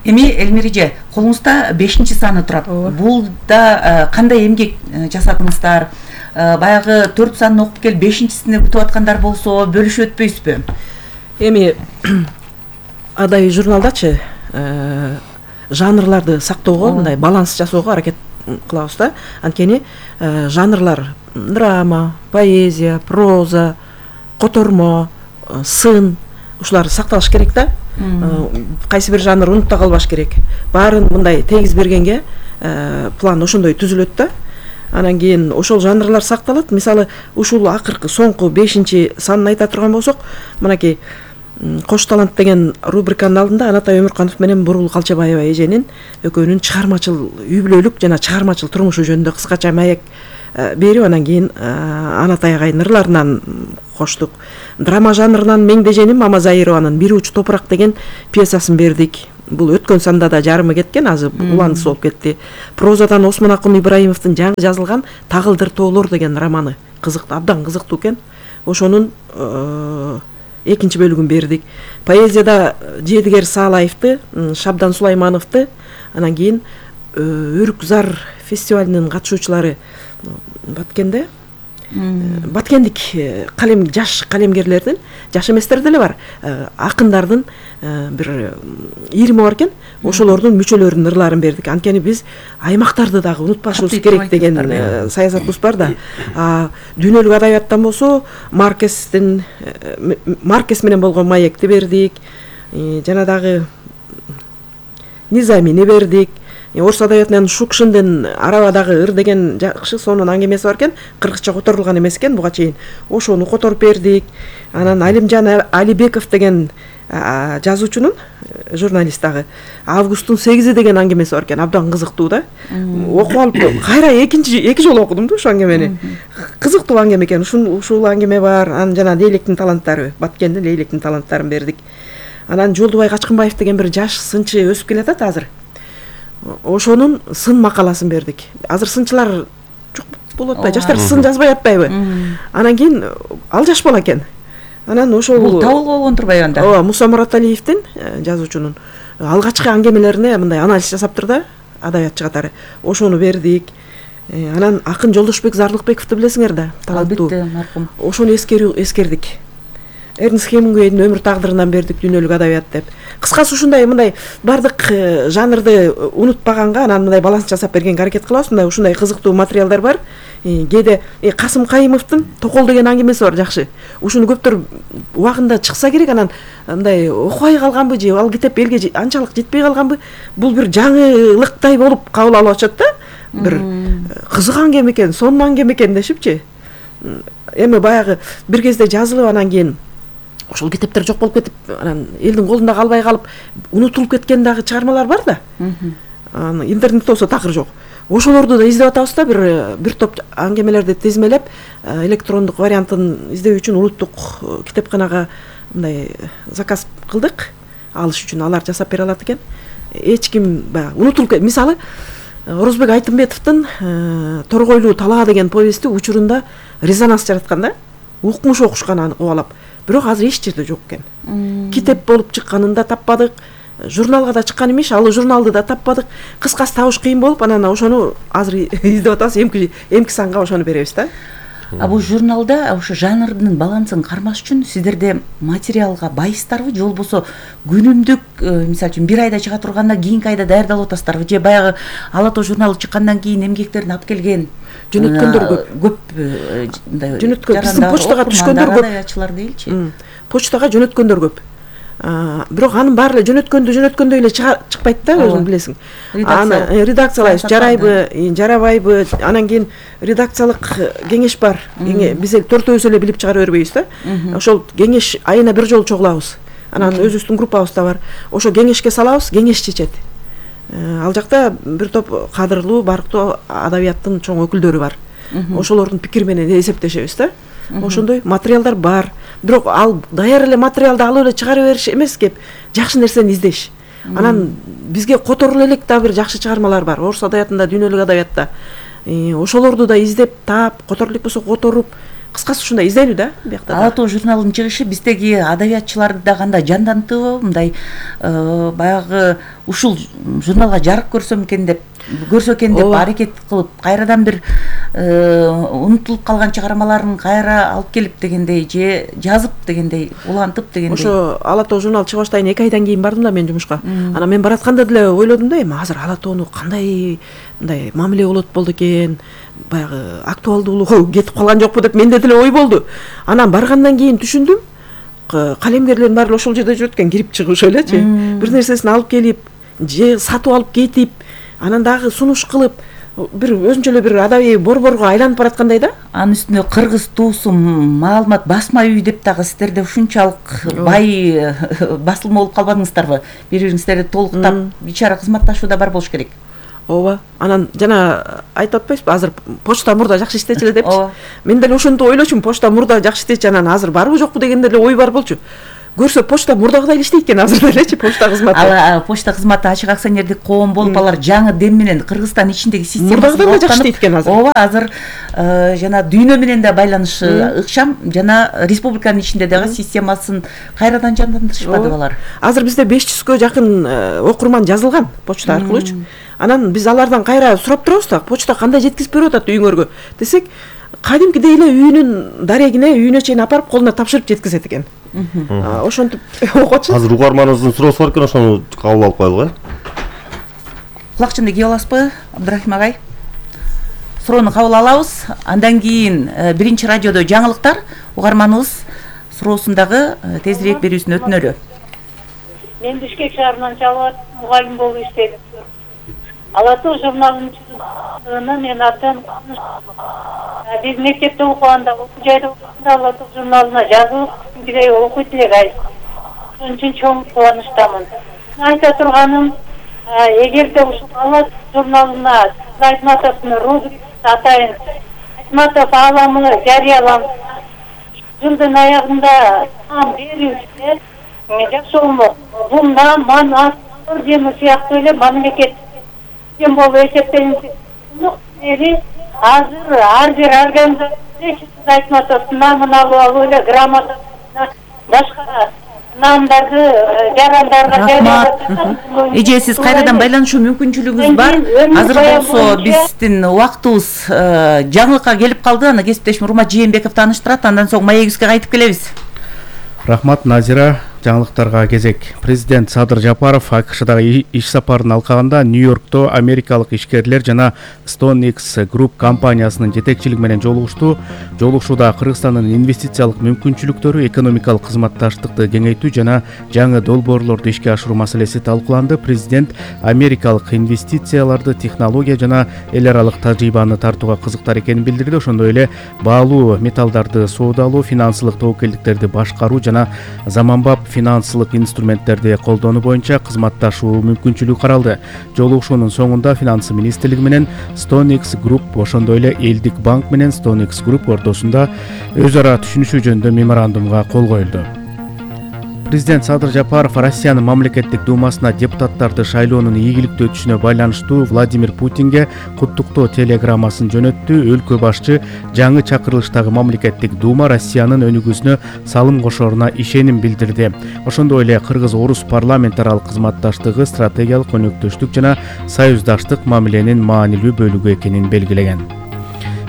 Эми Элмир эже, колуңузда 5-саны турат. Бул да кандай эмгек жасадыңыздар? Баягы 4 санын окуп келип 5-сине күтүп аткандар болсо бөлүшүп өтпөйсүзбү? Эми адай журналдачы жанрларды сактоого, мындай баланс жасоого аракет кылабыз да. Анткени жанрлар драма, поэзия, проза, котормо, сын ушулар сакталыш керек да. Кайсы бир жанр унутта калбаш керек. Баарын мындай тегиз бергенге план ошондой түзүлөт да. Анан кийин ошол жанрлар сакталат. Мисалы, ушул акыркы соңку 5-санын айта турган болсок, мынакей Кош талант деген рубриканын алдында Анатай Өмүрканов менен Бурул Калчабаева эженин экөөнүн чыгармачыл үй бүлөлүк жана чыгармачыл турмушу жөнүндө кыскача маек берип, анан кийин Анатай агайдын ырларынан коштук. Драма жанрынан Меңдеженим Мамазайырованын Бир уч топурак деген пьесасын бердик. Бул өткөн санда да жарымы кеткен, азыр уландысы болуп кетти. Прозадан Осмон Акын Ибраимовдун жаңы жазылган Тагылдыр тоолор деген романы кызыктуу, абдан кызыктуу экен. Ошонун экинчи бөлүгүн бердик. Поэзияда Жедигер Саалаевди, Шабдан Сулаймановду, анан кийин Өрүк Зар фестивалынын катышуучулары Баткенде баткендик жаш калемгерлердин, жаш эместер деле бар, акындардын бир 20 бар экен. Ошолордун мүчөлөрүнүн ырларын бердик. Анткени биз аймактарды дагы унутпашыбыз керек деген саясатыбыз бар да. Дүйнөлүк адабияттан болсо Маркес менен болгон маекти бердик. Жана дагы Низамини бердик. Орус адабиятынан Шукшиндин Арабадагы ыр деген жакшы сонун аңгемеси бар экен. Кыргызча которулган эмес экен буга чейин. Ошону которуп бердик. Анан Алимжан Алибеков деген жазуучунун, журналист дагы Августтун 8-и деген аңгемеси бар экен. Абдан кызыктуу да. Окуп алып кайра эки жолу окудум да ошол аңгемени. Кызыктуу аңгеме экен. Ушул аңгеме бар. Анан жана Лейлектин таланттары, Баткендин Лейлектин таланттарын бердик. Анан Жолдубай Качкынбаев деген бир жаш сынчы өсүп келатат азыр. Ошонун сын макаласын бердик. Азыр сынчылар жок болуп атпайбы? Жаштар сын жазбай атпайбы? Анан кийин ал жаш бала экен. Анан ошол бул табылып болгон турбайбы анда? Ооба, Муса Мураталиевдин жазуучунун алгачкы аңгемелерине мындай анализ жасаптыр да, адабиятчы катары. Ошону бердик. Анан акын Жолдошбек Зарлыкбековду билесиңер да, таланттуу. Албетте, маркум. Ошону эскердик. Эрнст Хемингуэйдин өмүр тагдырынан бердик дүйнөлүк адабият деп. Кыскасы ушундай мындай бардык жанрды унутпаганга анан мындай баланс жасап бергенге аракет кылабыз. Мындай ушундай кызыктуу материалдар бар. Кээде Касым Кайымовдун Токол деген аңгемеси бар, жакшы. Ушуну көптөр убагында чыкса керек, анан мындай окубай калганбы же ал китеп элге анчалык жетпей калганбы? Бул бир жаңылыктай болуп кабыл алып атышат да. Бир кызык аңгеме экен, сонун аңгеме экен дешипчи. Эми баягы бир кезде жазылып анан кийин ошол китептер жок болуп кетип, анан элдин колунда калбай калып, унутулуп кеткен дагы чыгармалар бар да. Интернетте болсо такыр жок. Ошолорду да издеп атабыз да, бир топ аңгемелерди тизмелеп, электрондук вариантын издөө үчүн улуттук китепканага мындай заказ кылдык, алыш үчүн алар жасап бере алат экен. Эч ким баягы унутулуп кетти. Мисалы, Орозбек Айтымбетовдун Торгойлуу талаа деген повести учурунда резонанс жараткан да. Укмуш окушкан аны кубалап. Бирок азыр эч жерде жок экен. Китеп болуп чыкканын да таппадык. Журналга да чыккан эмес, ал журналды да таппадык. Кыскасы табыш кыйын болуп, анан ошону азыр издеп атабыз. Эмки санга ошону беребиз да. Бул журналда ошо жанрдын балансын кармаш үчүн сиздерде материалга байыстарбы, же болбосо күнүмдүк, мисалы үчүн бир айда чыга турганда кийинки айда даярдалып атасыздарбы, же баягы Ала тоо журналы чыккандан кийин эмгектерин алып келген жөнөткөндөр көп. Жөнөткөн биздин почтага түшкөндөр көп. Адабиятчылар дейилчи. Почтага жөнөткөндөр көп. Бирок анын баары эле жөнөткөндөй эле чыкпайт да, өзүң билесиң. Аны редакциялайбыз, жарайбы, жарабайбы, анан кийин редакциялык кеңеш бар. Биз төртөөбүз эле билип чыгара бербейбиз да. Ошол кеңеш айына бир жолу чогулабыз. Анан өзүбүздүн группабыз да бар. Ошо кеңешке салабыз, кеңеш чечет. Ал жакта бир топ кадырлуу, барктуу адабияттын чоң өкүлдөрү бар. Ошолордун пикири менен эсептешебиз да. Ошондой материалдар бар. Бирок ал даяр эле материалды алып эле чыгара бериш эмес кеп, жакшы нерсени издеш. Анан бизге которулу элек да бир жакшы чыгармалар бар. Орус адабиятында, дүйнөлүк адабиятта. Ошолорду да издеп, таап, которулу элек болсо которуп, кыскасы ушундай издейлүү да биякта. Ала тоо журналынын чыгышы биздеги адабиятчыларды да кандай жандантыбы, мындай баягы ушул журналга жарык көрсө экен деп аракет кылып, кайрадан бир унутулуп калган чыгармаларын кайра алып келип дегендей, же жазып дегендей, улантып дегендей. Ошо Ала тоо журнал чыга баштайын 2 айдан кийин бардым да мен жумушка. Анан мен баратканда деле ойлодум да, эми азыр Ала тоону кандай мындай мамиле болду экен, баягы актуалдуулугу кетип калган жокпу деп менде деле ой болду. Анан баргандан кийин түшүндүм, калемгерлердин баары ошол жерде жүрөт экен, кирип чыгып элечи. Бир нерсесин алып келип, же сатып алып кетип, анан дагы сунуш кылып, бир өзүнчө эле бир адабий борборго айланып бараткандай да. Анын үстүнө кыргыз туусум, маалымат басма үй деп дагы сиздерде ушунчалык бай басылма болуп калбадыңыздарбы? Бири-бириңиздерди толуктап ичара кызматташуу да бар болуш керек. Ооба. Анан жана айтып атпайсызбы, азыр почта мурда жакшы иштечү эле депчи. Мен деле ошондо ойлочумун, почта мурда жакшы иштечү, анан азыр барбы жокпу деген деле ой бар болчу. Көрсө почта мурдагыдай эле иштейт экен азыр делечи, почта кызматы. Ал почта кызматы ачык акционердик коом болуп, алар жаңы дем менен Кыргызстан ичиндеги системасы мурдагыдан да жакшы иштейт экен азыр. Ооба, азыр жана дүйнө менен да байланышы ыкшам, жана республиканын ичинде дагы системасын кайрадан жандандырышпадыбы алар? Азыр бизде 500гө жакын окурман жазылган почта аркылуучу. Анан биз алардан кайра сурап турабыз да, почта кандай жеткизип берип атат үйүңөргө десек, кадимкидей эле үйүнүн дарегине, үйүнө чейин апарып колуна тапшырып жеткизет экен. Ошентип окутчу. Азыр угарманыбыздын суроосу бар экен, ошону кабыл алып коелук, Кулакчынды кийип аласызбы, Абдрахим агай? Суроону кабыл алабыз. Андан кийин биринчи радиодо жаңылыктар, угарманыбыз суроосун дагы тезирээк берүүсүн өтүнөлү. Мен Бишкек шаарынан чалып мугалим болуп иштедим. Ала тоо журналынын мен абдан биз мектепте окуганда, окуу жайда окуганда Ала тоо журналына жазылып, кийинкидей окуйт элек ай. Ошон үчүн чоң кубанычтамын. Айта турганым, эгерде ушул Ала тоо журналына Айтматовдун рубрикасы атайын Айтматов ааламы жарыяланса, жылдын аягында берүүчү жакшы болмок. Бул ман ордени сыяктуу эле мамлекет болуп эсептелинет. Азыр ар бир организация айтып атат, намын алып эле грамота башка намдарды жарандарга эже сиз кайрадан байланышуу мүмкүнчүлүгүңүз бар. Азыр болсо биздин убактыбыз жаңылыкка келип калды. Аны кесиптешим Урмат Жээнбеков тааныштырат. Андан соң маегибизге кайтып келебиз. Рахмат, Назира. Жаңылыктарга кезек. Президент Садыр Жапаров АКШдагы иш сапарын алкаганда Нью-Йоркто америкалык ишкерлер жана StoneX Group компаниясынын жетекчилиги менен жолугушту. Жолугушууда Кыргызстандын инвестициялык мүмкүнчүлүктөрү, экономикалык кызматташтыкты кеңейтүү жана жаңы долбоорлорду ишке ашыруу маселеси талкууланды. Президент америкалык инвестицияларды, технология жана эл аралык тажрыйбаны тартууга кызыктар экенин билдирди. Ошондой эле баалуу металлдарды соодалоо, финансылык тобокелдиктерди башкаруу жана заманбап финансылык инструменттерди колдонуу боюнча кызматташуу мүмкүнчүлүгү каралды. Жолугушуунун соңунда Финансы министрлиги менен StoneX Group, ошондой эле Элдик банк менен StoneX Group ортосунда өз ара түшүнүшүү жөнүндө меморандумга кол коюлду. Президент Садыр Жапаров Россиянын мамлекеттик думасына депутаттарды шайлоонун ийгиликтүү өтүшүнө байланыштуу Владимир Путинге куттуктоо телеграммасын жөнөттү. Өлкө башчы жаңы чакырылыштагы мамлекеттик дума Россиянын өнүгүүсүнө салым кошоруна ишеним билдирди. Ошондой эле кыргыз-орус парламент аралык кызматташтыгы стратегиялык өнөктөштүк жана союздаштык мамиленин маанилүү бөлүгү экенин белгилеген.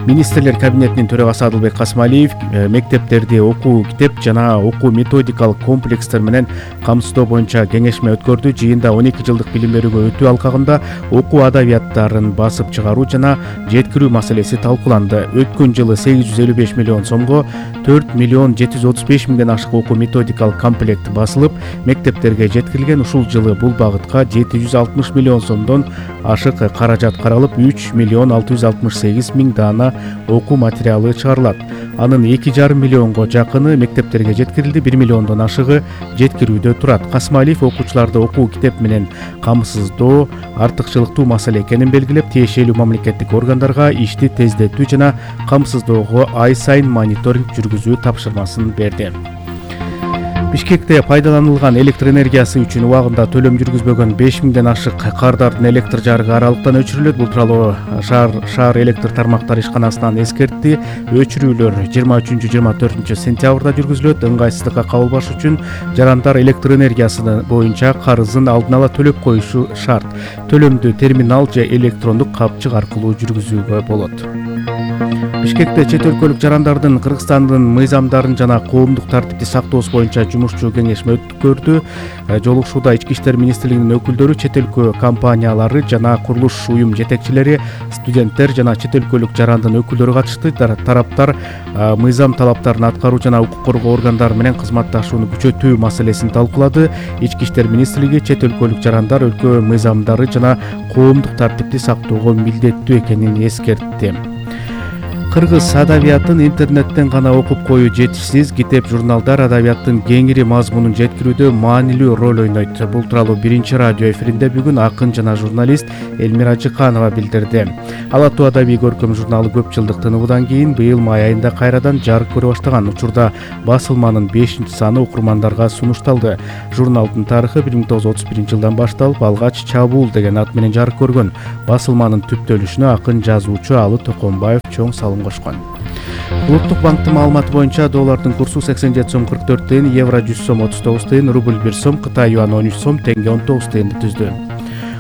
Министрлер кабинетинин төрагасы Адылбек Касмалиев мектептерди окуу китеп жана окуу методикалык комплекстер менен камсыздоо боюнча кеңешме өткөрдү. Жыйында 12 жылдык билим берүүгө өтүү алкагында окуу адабияттарын басып чыгаруу жана жеткирүү маселеси талкууланды. Өткөн жылы 855 миллион сомго 4 миллион 735 миңден ашык окуу методикалык комплект басылып, мектептерге жеткирилген. Ушул жылы бул багытка 760 миллион сомдон ашык каражат каралып, 3 миллион 668 миң даана окуу материалы чыгарылат. Анын 2,5 миллионго жакыны мектептерге жеткирилди, 1 миллиондон ашыгы жеткирүүдө турат. Касмалиев окуучуларды окуу китеп менен камсыздоо артыкчылыктуу маселе экенин белгилеп, тиешелүү мамлекеттик органдарга ишти тездетүү жана камсыздоого ай сайын мониторинг жүргүзүү тапшырмасын берди. Бишкекте пайдаланылган электр энергиясы үчүн убагында төлөм жүргүзбөгөн 5 миңден ашык кардардын электр жарыгы аралыктан өчүрүлөт. Бул тууралуу шаар электр тармактары ишканасынан эскертти. Өчүрүүлөр 23-24 сентябрда жүргүзүлөт. Ыңгайсыздыкка кабылбаш үчүн жарандар электр энергиясы боюнча карызын алдын ала төлөп коюшу шарт. Төлөмдү терминал же электрондук капчык аркылуу жүргүзүүгө болот. Бишкекте чет өлкөлүк жарандардын Кыргызстандын мыйзамдарын жана коомдук тартипти сактоосу боюнча жумушчу кеңешме өткөрдү. Жолугушууда Ички иштер министрлигинин өкүлдөрү, чет өлкө компаниялары жана курулуш уюм жетекчилери, студенттер жана чет өлкөлүк жарандын өкүлдөрү катышты. Тараптар мыйзам талаптарын аткаруу жана укук коргоо органдары менен кызматташууну күчөтүү маселесин талкуулады. Ички иштер министрлиги чет өлкөлүк жарандар өлкө мыйзамдары жана коомдук тартипти сактоого милдеттүү экенин эскертти. Кыргыз адабиятын интернеттен гана окуп коюу жетишсиз. Китеп, журналдар адабияттын кеңири мазмунун жеткирүүдө маанилүү роль ойнойт. Бул тууралуу Биринчи радио эфиринде бүгүн акын жана журналист Элмира Жыканова билдирди. Ала Тоо адабий көркөм журналы көп жылдык тынуудан кийин быйыл май айында кайрадан жарык көрө баштаган. Учурда басылманын 5-саны окурмандарга сунушталды. Журналдын тарыхы 1931 жылдан башталып, алгач Чабуул деген ат менен жарык көргөн. Басылманын түптөлүшүнө акын жазуучу Алы Токонбаев чоң салым кошкон. Улуттук банктын маалыматы боюнча доллардын курсу 87 сом 44 тыйын, евро 100 сом 39 тыйын, рубль 1 сом, Кытай юаны 13 сом, теңге 19 тыйынды түздү.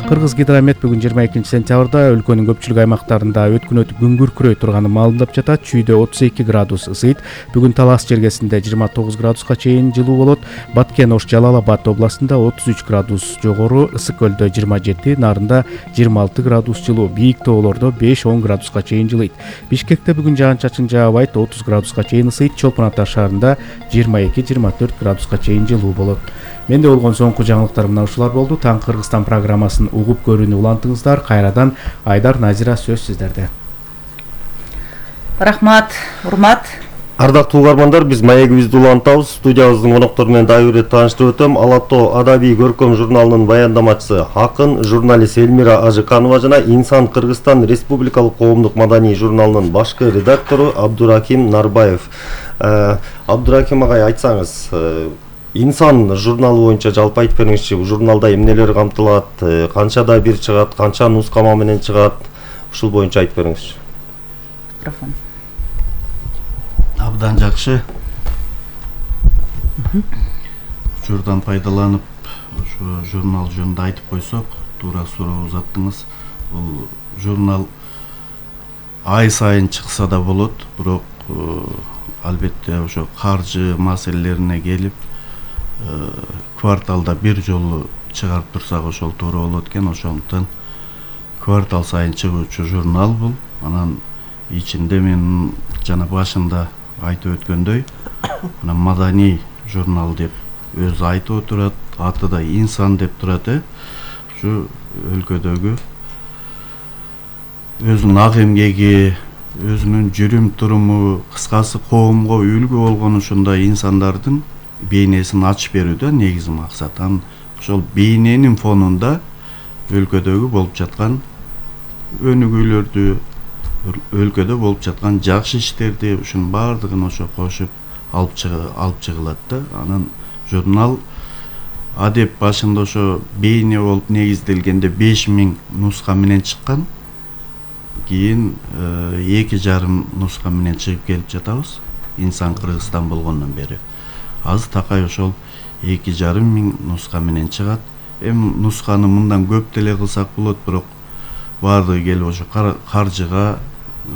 Кыргыз гидромет бүгүн 22 сентябрда өлкөнүн көпчүлүк аймактарында өткүнөт күн күркүрөй турганын маалымдап жатат. Чүйдө 32 градус ысыйт. Бүгүн Талас жергесинде 29 градуска чейин жылуу болот. Баткен Ош Жалал Абад областында 33 градус жогору, Ысык көлдө 27, Нарында 26 градус жылуу, бийик тоолордо 5-10 градуска чейин жылыйт. Бишкекте бүгүн жаан-чачын жаабайт, 30 градуска чейин ысыйт. Чолпон Ата шаарында 22-24 градуска чейин жылуу болот. Менде болгон соңку жаңылыктар мына ушулар болду. Таң Кыргызстан программасын угуп көрүүнү улантыңыздар. Кайрадан Айдар, Назира, сөз сиздерде. Рахмат, Урмат. Ардактуу угармандар, биз маегибизди улантабыз. Студиябыздын коноктору менен дагы бир тааныштырып өтөм. Ала Тоо адабий көркөм журналынын баяндамачысы акын, журналист Элмира Ажыканова жана Инсан Кыргызстан Республикалык коомдук маданий журналынын башкы редактору Абдураким Нарбаев. Абдураким агай, айтсаңыз, инсан журналы боюнча жалпы айтып бериңизчи, журналда эмнелер камтылат, канчада бир чыгат, канча нускама менен чыгат, ушул боюнча айтып бериңизчи. Микрофон. Абдан жакшы. Учурдан пайдаланып, ошо журнал жөнүндө айтып койсок, туура суроо узаттыңыз. Бул журнал ай сайын чыкса да болот, бирок албетте ошо каржы маселелерине келип, кварталда бир жолу чыгарып турсак ошол туура болот экен. Ошондуктан квартал сайын чыгуучу журнал бул. Анан ичинде мен жана башында айтып өткөндөй, анан маданий журнал деп өзү айтып отурат, аты да инсан деп турат. Ушу өлкөдөгү өзүнүн ак эмгеги, өзүнүн жүрүм туруму, кыскасы коомго үлгү болгон ушундай инсандардын бейнесин ачып берүүдө негизи максат. Ошол бейненин фонунда өлкөдөгү болуп жаткан өнүгүүлөрдү, өлкөдө болуп жаткан жакшы иштерди, ушунун баардыгын ошо кошуп алып чыгылат да. Анан журнал адеп башында ошо бейне болуп негизделгенде 5000 нуска менен чыккан. Кийин 2,5 нуска менен чыгып келип жатабыз. Инсан Кыргызстан болгондон бери. Азыр такай ошол 2,5 нуска менен чыгат. Нусканы мындан көп деле кылсак болот, бирок баардыгы келип ошо каржыга,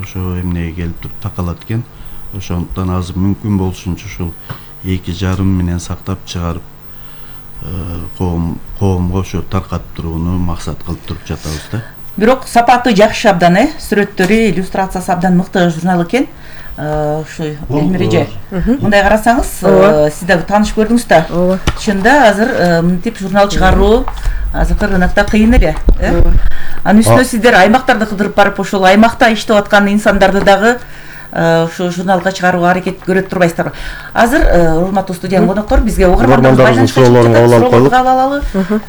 ошо эмнеге келип туруп такалат экен. Ошондуктан азыр мүмкүн болушунча ушул 2,5 менен сактап чыгарып, коомго ошо таркатып турууну максат кылып туруп жатабыз да. Бирок сапаты жакшы абдан, сүрөттөрү, иллюстрациясы абдан мыкты журнал экен. Ушу Элмире, мындай карасаңыз, сиз да тааныш көрдүңүз да. Чында азыр мынтип журнал чыгаруу азыркы рынокто кыйын эле. Анын үстүнө сиздер аймактарды кыдырып барып, ошол аймакта иштеп аткан инсандарды дагы ушу журналга чыгарууга аракет көрөт турбайсыздарбы? Азыр урматтуу студиянын коноктор бизге угармандардын суроолорун кабыл алалы.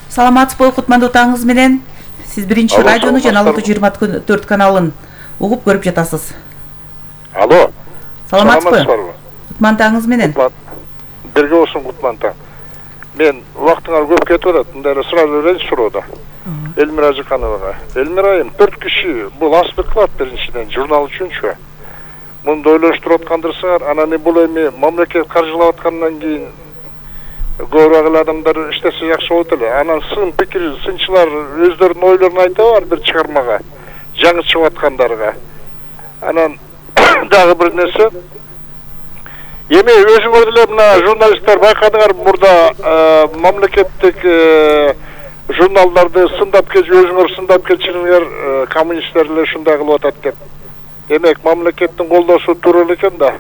Саламатсызбы кутмандуу таңыңыз менен? Сиз биринчи радиону жана 624 каналын угуп көрүп жатасыз. Алло. Саламатсызбы? Кутман таңыңыз менен. Бирге болсун кутман таң. Мен убактыңар көп кетип атат. Мындай сразу берейинчи суроода. Элмира Ажыкановага. Элмира айым 4 киши бул аспект кылат биринчиден журнал үчүнчү. Мунду ойлоштуруп аткандырсаңар, анан бул эми мамлекет каржылап аткандан кийин көбүрөөк адамдар иштесе жакшы болот эле. Анан сын пикир, сынчылар өздөрүнүн ойлорун айтабы ар бир чыгармага, жаңы чыгып аткандарга. Анан дагы бир нерсе, эми өзүңөр деле мына журналисттер байкадыңар, мурда мамлекеттик журналдарды сындап келип, өзүңөр сындап келчиңер, коммунисттер эле ушундай кылып атат деп. Демек мамлекеттин колдоосу туура эле экен да.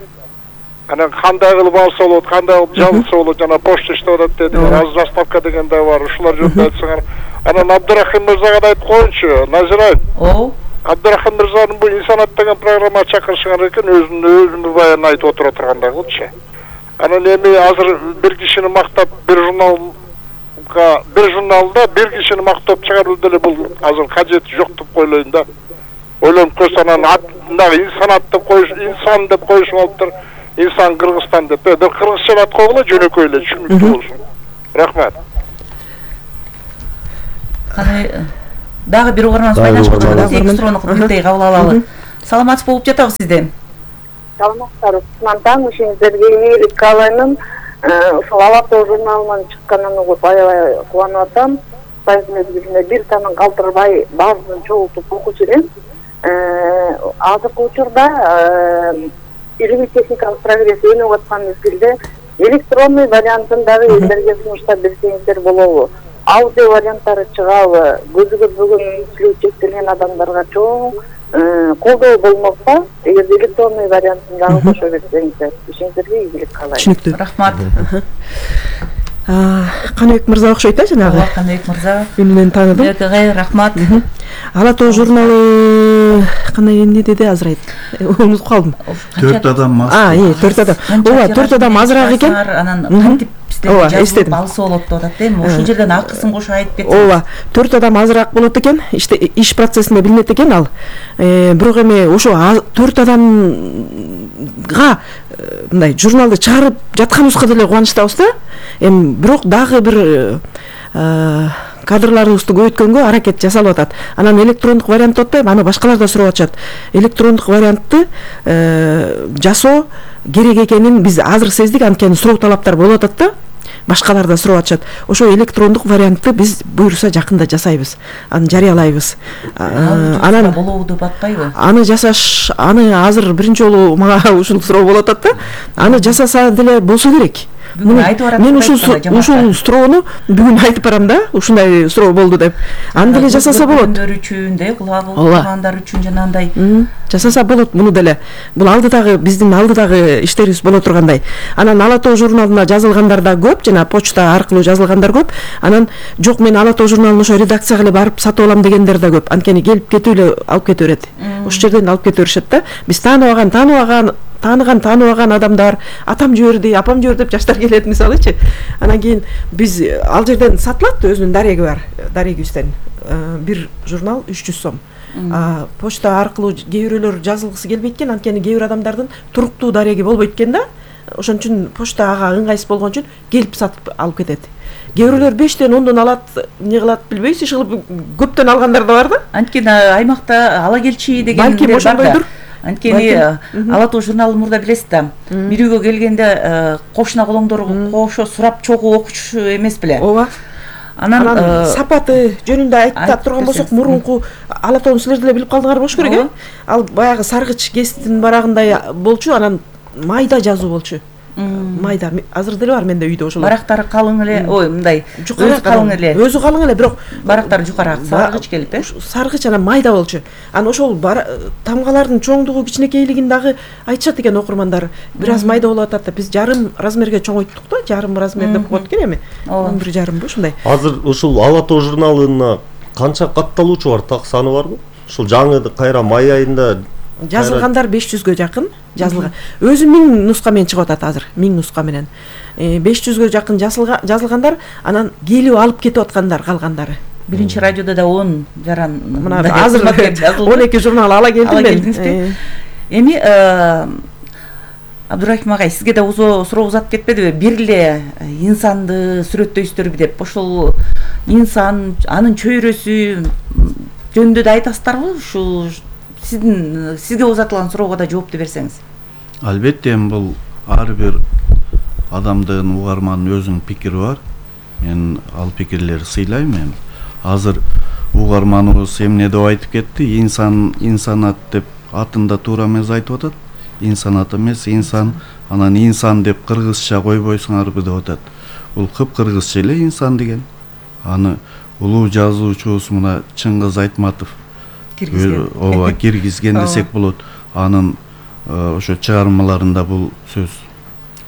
Анан кандай кылып алса болот, кандай кылып жабылса болот, жана почта иштеп атат дедиңер, азыр заставка деген да бар, ушулар жөнүндө айтсаңар. Анан Абдырахим мырзага да айтып коеюнчу, Назира. Абдырахим мырзанын бул инсанат деген программа чакырышыңар экен, өзүнүн баян айтып отура тургандай кылчы. Анан эми азыр бир кишини мактап, бир журналда бир кишини мактап чыгаруу деле бул азыр кажети жок деп ойлойм да. Ойлонуп көрсө анан мындагы инсанат деп коюш, инсан деп коюшуп алыптыр. Инсан Кыргызстан деп. Бир кыргызча ат койгула, жөнөкөй эле, түшүнүктүү болсун. Рахмат. Дагы бир угарманыбыз байланышып жатат. Эки суроону бирдей кабыл алалы. Саламатсыз болуп жатабыз сизден. Саламатсыздар. Кутман ишиңиздерге ийгилик каалайм. Ушул Ала тоо журналынан чыкканын угуп аябай кубанып атам. Сайын мезгилинде бир танын калтырбай баарын чогултуп окучу элем. Азыркы учурда илимий техникалык прогресс өнүгүп аткан мезгилде электронный вариантын дагы элдерге сунуштап берсеңиздер болобу? Аудио варианттары чыгабы? Көзү көрбөгөн мүмкүнчүлүгү чектелген адамдарга чоң колдоо болмокта, эгерде электронный вариантын дагы кошо берсеңиздер, ишиңиздерге ийгилик каалайм. Түшүнүктүү. Рахмат. Каныбек мырза окшойт жанагы. Каныбек мырза. Үнүнөн тааныдым. Рахмат. Ала тоо журналы кандай эмне деди азыр айт. Унутуп калдым. 4 адам аз. 4 адам. Ооба, 4 адам азыраак экен. Анан кантип жазылып алса болот деп атат, эми ошол жерден акысын кошо айтып кетсеңиз. Ооба, 4 адам азыраак болот экен. Иш процессинде билинет экен ал. Бирок эми ошо 4 адамга мындай журналды чыгарып жатканыбызга деле кубанычтабыз да. Эми бирок дагы бир кадрларыбызды көбөйткөнгө аракет жасалып атат. Анан электрондук вариантты атпайбы, аны башкалар да сурап атышат. Электрондук вариантты жасоо керек экенин биз азыр сездик, анткени суроо талаптар болуп атат да. Башкалар да сурап атышат. Ошо электрондук вариантты биз буюрса жакында жасайбыз. Аны жарыялайбыз. Анан болобу деп атпайбы? Аны жасаш, аны азыр биринчи жолу мага ушул суроо болуп атат да. Аны жасаса деле болсо керек. Мен ушул суроону бүгүн айтып барам да, ушундай суроо болду деп. Аны деле жасаса болот. Үчүн, кулагы тургандар үчүн жанагындай жасаса болот муну деле. Бул алдыдагы биздин алдыдагы иштерибиз боло тургандай. Анан Ала Тоо журналына жазылгандар да көп, жана почта аркылуу жазылгандар көп. Анан жок, мен Ала Тоо журналын ошо редакцияга эле барып сатып алам дегендер да көп. Анткени келип кетип эле алып кете берет. Ошол жерден алып кете беришет да. Биз тааныбаган адамдар, атам жиберди, апам жиберди деп жаштар келет мисалычы. Анан кийин биз ал жерден сатылат, өзүнүн дареги бар, дарегибизден. Бир журнал 300 сом. Почта аркылуу кээ бирөөлөр жазылгысы келбейт экен, анткени кээ бир адамдардын туруктуу дареги болбойт экен да. Ошон үчүн почта ага ыңгайсыз болгон үчүн келип сатып алып кетет. Кээ бирөөлөр 5тен 10дон алат, эмне кылат билбейбиз, иши көптөн алгандар да бар да. Анткени аймакта ала келчи дегендер бар да. Анткени Ала Тоо журналын мурда билесиз да. Бир үйгө келгенде кошуна колоңдор кошо сурап чогуу окуч эмес беле? Ооба. Анан сапаты жөнүндө айтып турган болсок, мурунку Ала Тоону силер деле билип калдыңар болуш керек, э? Ал баягы саргыч гезиттин барагындай болчу, анан майда жазуу болчу. Майда азыр деле бар менде үйдө ошол. Барактары калың эле, ой, мындай өзү калың эле. Өзү калың эле, бирок барактары жукараак, саргыч келип, э? Саргыч анан майда болчу. Анан ошол тамгалардын чоңдугу, кичинекейлигин дагы айтышат экен окурмандар. Бир аз майда болуп атат да, биз жарым размерге чоңойттук да, жарым размер деп коет экен эми. 1,5 ушундай. Азыр ушул Ала Тоо журналына канча катталуучу бар, так саны барбы? Ушул жаңы кайра май айында жазылгандар 500гө жакын жазылган. Өзү 1000 нуска менен чыгып атат азыр, 1000 нуска менен. 500гө жакын жазылгандар, анан келип алып кетип аткандар калгандары. Биринчи радиодо да 10 жаран. Мына азыр 12 журнал ала келдим мен. Эми Абдурахим агай, сизге да суроо узатып кетпедиби? Бир эле инсанды сүрөттөйсүздөр деп, ошол инсан, анын чөйрөсү жөнүндө да айтасыздарбы? Ушул сизге узатылган суроого да жоопты берсеңиз. Албетте, бул ар бир адамдын, угармандын өзүнүн пикири бар. Мен ал пикирлерди сыйлайм. Мен азыр угарманыбыз эмне деп айтып кетти? Инсанат деп атында туура эмес айтып атат. Инсанат эмес, инсан. Анан инсан деп кыргызча койбойсуңарбы деп атат. Бул кыргызча эле инсан деген. Аны улуу жазуучубуз мына Чыңгыз Айтматов киргизген десек болот. Анын ошо чыгармаларында бул сөз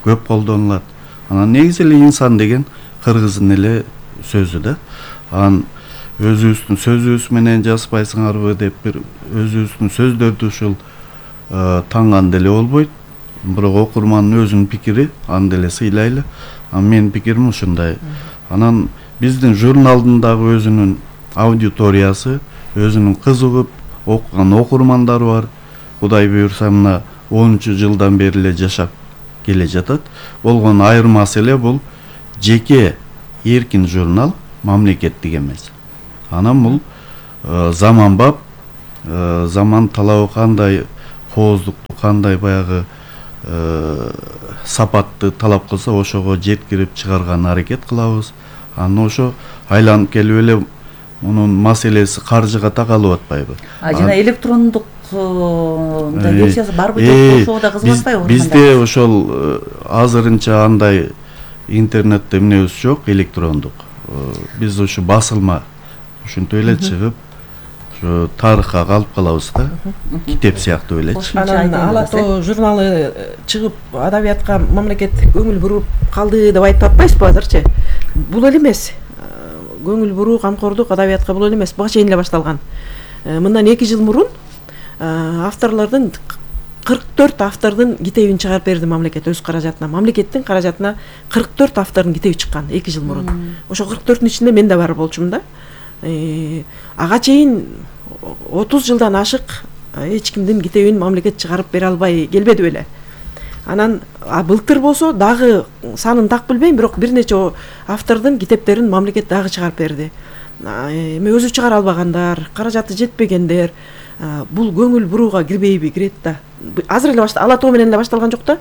көп колдонулат. Анан негизи эле инсан деген кыргыздын эле сөзү да. Анан өзүбүздүн сөзүбүз менен жазбайсыңарбы деп бир өзүбүздүн сөздөрдү ушул таңган деле болбойт. Бирок окурмандын өзүнүн пикири, аны деле сыйлайлы. Менин пикирим ушундай. Анан биздин журналдын дагы өзүнүн аудиториясы, өзүнүн кызыгып окуган окурмандары бар. Кудай буйрса мына 10-жылдан бери эле жашап келе жатат. Болгон айырмасы эле бул жеке эркин журнал, мамлекеттик эмес. Анан бул заманбап, заман талабы кандай, кооздукту кандай баягы сапатты талап кылса ошого жеткирип чыгарган аракет кылабыз. Анан ошо айланып келип эле мунун маселеси каржыга такалып атпайбы? Жана электрондук версиясы барбы жокпу, ошого да кызыгып атпайбы? Бизде ошол азырынча андай интернетте эмнебиз жок, электрондук. Биз ушу басылма ушинтип эле чыгып, ушу тарыхка калып калабыз да, китеп сыяктуу элечи. Анан Ала Тоо журналы чыгып адабиятка мамлекет көңүл буруп калды деп айтып атпайсызбы азырчы? Бул эле эмес. Көңүл буруу, камкордук адабиятка бул эле эмес, буга чейин эле башталган. Мындан 2 жыл мурун авторлордун 44 автордун китебин чыгарып берди мамлекет өз каражатына. Мамлекеттин каражатына 44 автордун китеби чыккан 2 жыл мурун. Ошо 44-түн ичинде мен да бар болчумун да. Ага чейин 30 жылдан ашык эч кимдин китебин мамлекет чыгарып бере албай келбеди беле. Анан былтыр болсо дагы санын так билбейм, бирок бир нече автордун китептерин мамлекет дагы чыгарып берди. Эми өзү чыгара албагандар, каражаты жетпегендер бул көңүл бурууга кирбейби? Кирет да. Азыр эле ала тоо менен эле башталган жок да.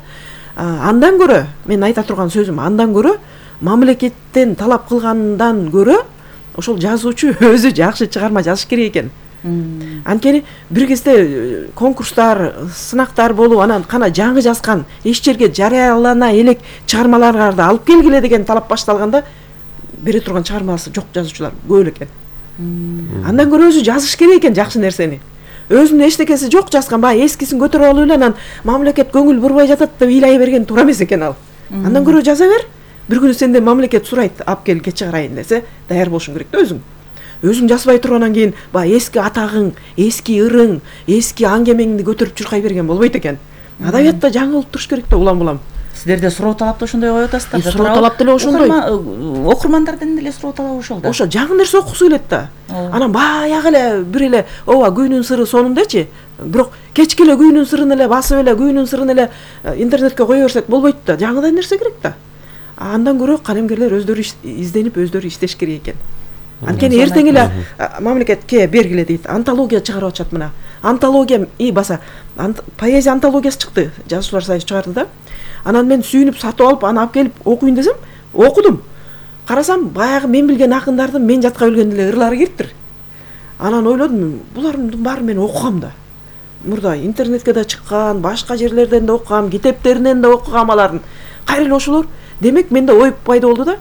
Андан көрө, мен айта турган сөзүм, андан көрө мамлекеттен талап кылгандан көрө ошол жазуучу өзү жакшы чыгарма жазыш керек экен. Анткени бир кезде конкурстар, сынактар болуп, анан кана жаңы жазган, эч жерге жарыялана элек чыгармаларды алып келгиле деген талап башталганда бере турган чыгармасы жок жазуучулар көп эле экен. Андан көрө өзү жазыш керек экен жакшы нерсени. Өзүнүн эчтекеси жок жазган, баягы эскисин көтөрүп алып эле анан мамлекет көңүл бурбай жатат деп ыйлай берген туура эмес экен ал. Андан көрө жаза бер. Бир күнү сенден мамлекет сурайт, алып кел чыгарайын десе, даяр болушуң керек да өзүң. Өзүң жазбай тургандан кийин баягы эски атагың, эски ырың, эски аңгемеңди көтөрүп чуркай берген болбойт экен. Адабиятта жаңы болуп туруш керек да улам-улам. Сиздерде суроо талапты ошондой коюп атасыздар. Суроо талап деле ошондой. Окурмандардан деле суроо талап ошол да. Ошо жаңы нерсе окугусу келет да. Анан баягы эле бир эле ооба күйүүнүн сыры сонундачы. Бирок кечке эле күйүүнүн сырын эле басып эле күйүүнүн сырын эле интернетке кое берсек болбойт да. Жаңыдан нерсе керек да. Андан көрө калемгерлер өздөрү изденип өздөрү иштеш керек экен. Анткени эртең эле мамлекетке бергиле дейт. Антология чыгарып атышат мына. Антология баса поэзия антологиясы чыкты. Жазуучулар союзу чыгарды да. Анан мен сүйүнүп сатып алып, аны алып келип окуйн десем, окудум. Карасам, баягы мен билген акындардын мен жатка билген эле ырлары кириптир. Анан ойлодум, булардын баарын мен окугам да. Мурда интернетке да чыккан, башка жерлерден да окугам, китептеринен да окугам алардын. Кайра эле ошолор. Демек менде ой пайда болду да.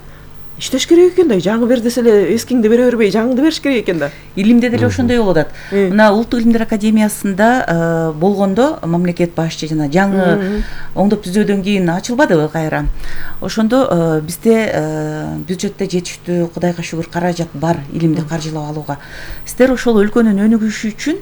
Иштеш керек экен да, жаңы бер десе эле эскиңди бере бербей, жаңыңды бериш керек экен да. Илимде деле ошондой болуп атат. Мына Улуттук илимдер академиясында болгондо мамлекет башчы жана жаңы оңдоп түзөөдөн кийин ачылбадыбы кайра. Ошондо бизде бюджетте жетиштүү, Кудайга шүгүр, каражат бар илимди каржылап алууга. Сиздер ошол өлкөнүн өнүгүшү үчүн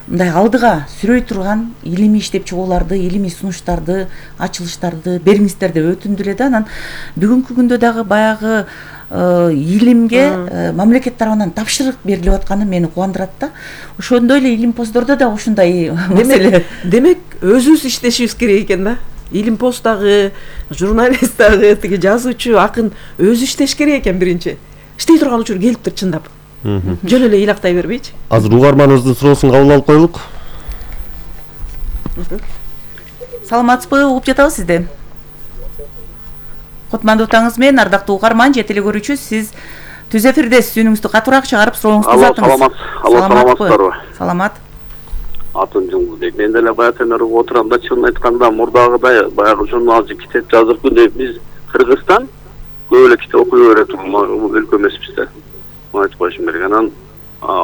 мындай алдыга сүрөй турган илимий иштеп чыгууларды, илимий сунуштарды, ачылыштарды бериңиздер деп өтүндү эле да. Анан бүгүнкү күндө дагы баягы илимге мамлекет тарабынан тапшырык берилип атканы мени кубандырат да. Ошондой эле илимпоздордо да ушундай маселе. Демек өзүбүз иштешибиз керек экен да. Илимпоз дагы, журналист дагы, тиги жазуучу, акын өзү иштеш керек экен биринчи. Иштей турган учур келиптир чындап. Жөн эле ыйлактай бербейчи. Азыр угарманыбыздын суроосун кабыл алып коелук. Саламатсызбы, угуп жатабыз сизди. Кутмандуу таңыңыз менен, ардактуу угарман, же телегөрүүчү, сиз түз эфирдесиз, үнүңүздү катуураак чыгарып сурооңузду узатыңыз. Саламатсыздарбы? Саламат. Атым Жылдыбек. Мен деле баягы өтүп отурам да, чынын айтканда мурдагыдай баягы журналчы китеп жаздырып деп биз Кыргызстан көп эле китеп окуй берет өлкө эмеспиз да. Айтып коюшум керек. Анан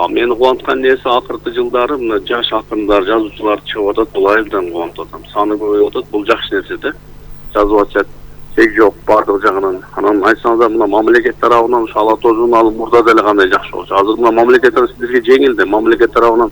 мени кубанткан нерсе акыркы жылдары мына жаш акындар, жазуучулар чыгып атат, бул айылдан кубанып атам. Саны көбөйүп атат, бул жакшы нерсе да. Жазып атышат, чек жок бардык жагынан. Анан айтсаңыздар мына мамлекет тарабынан ушу Ала тоо журналы мурда деле кандай жакшы болчу. Азыр мына мамлекет сиздерге жеңилди. Мамлекет тарабынан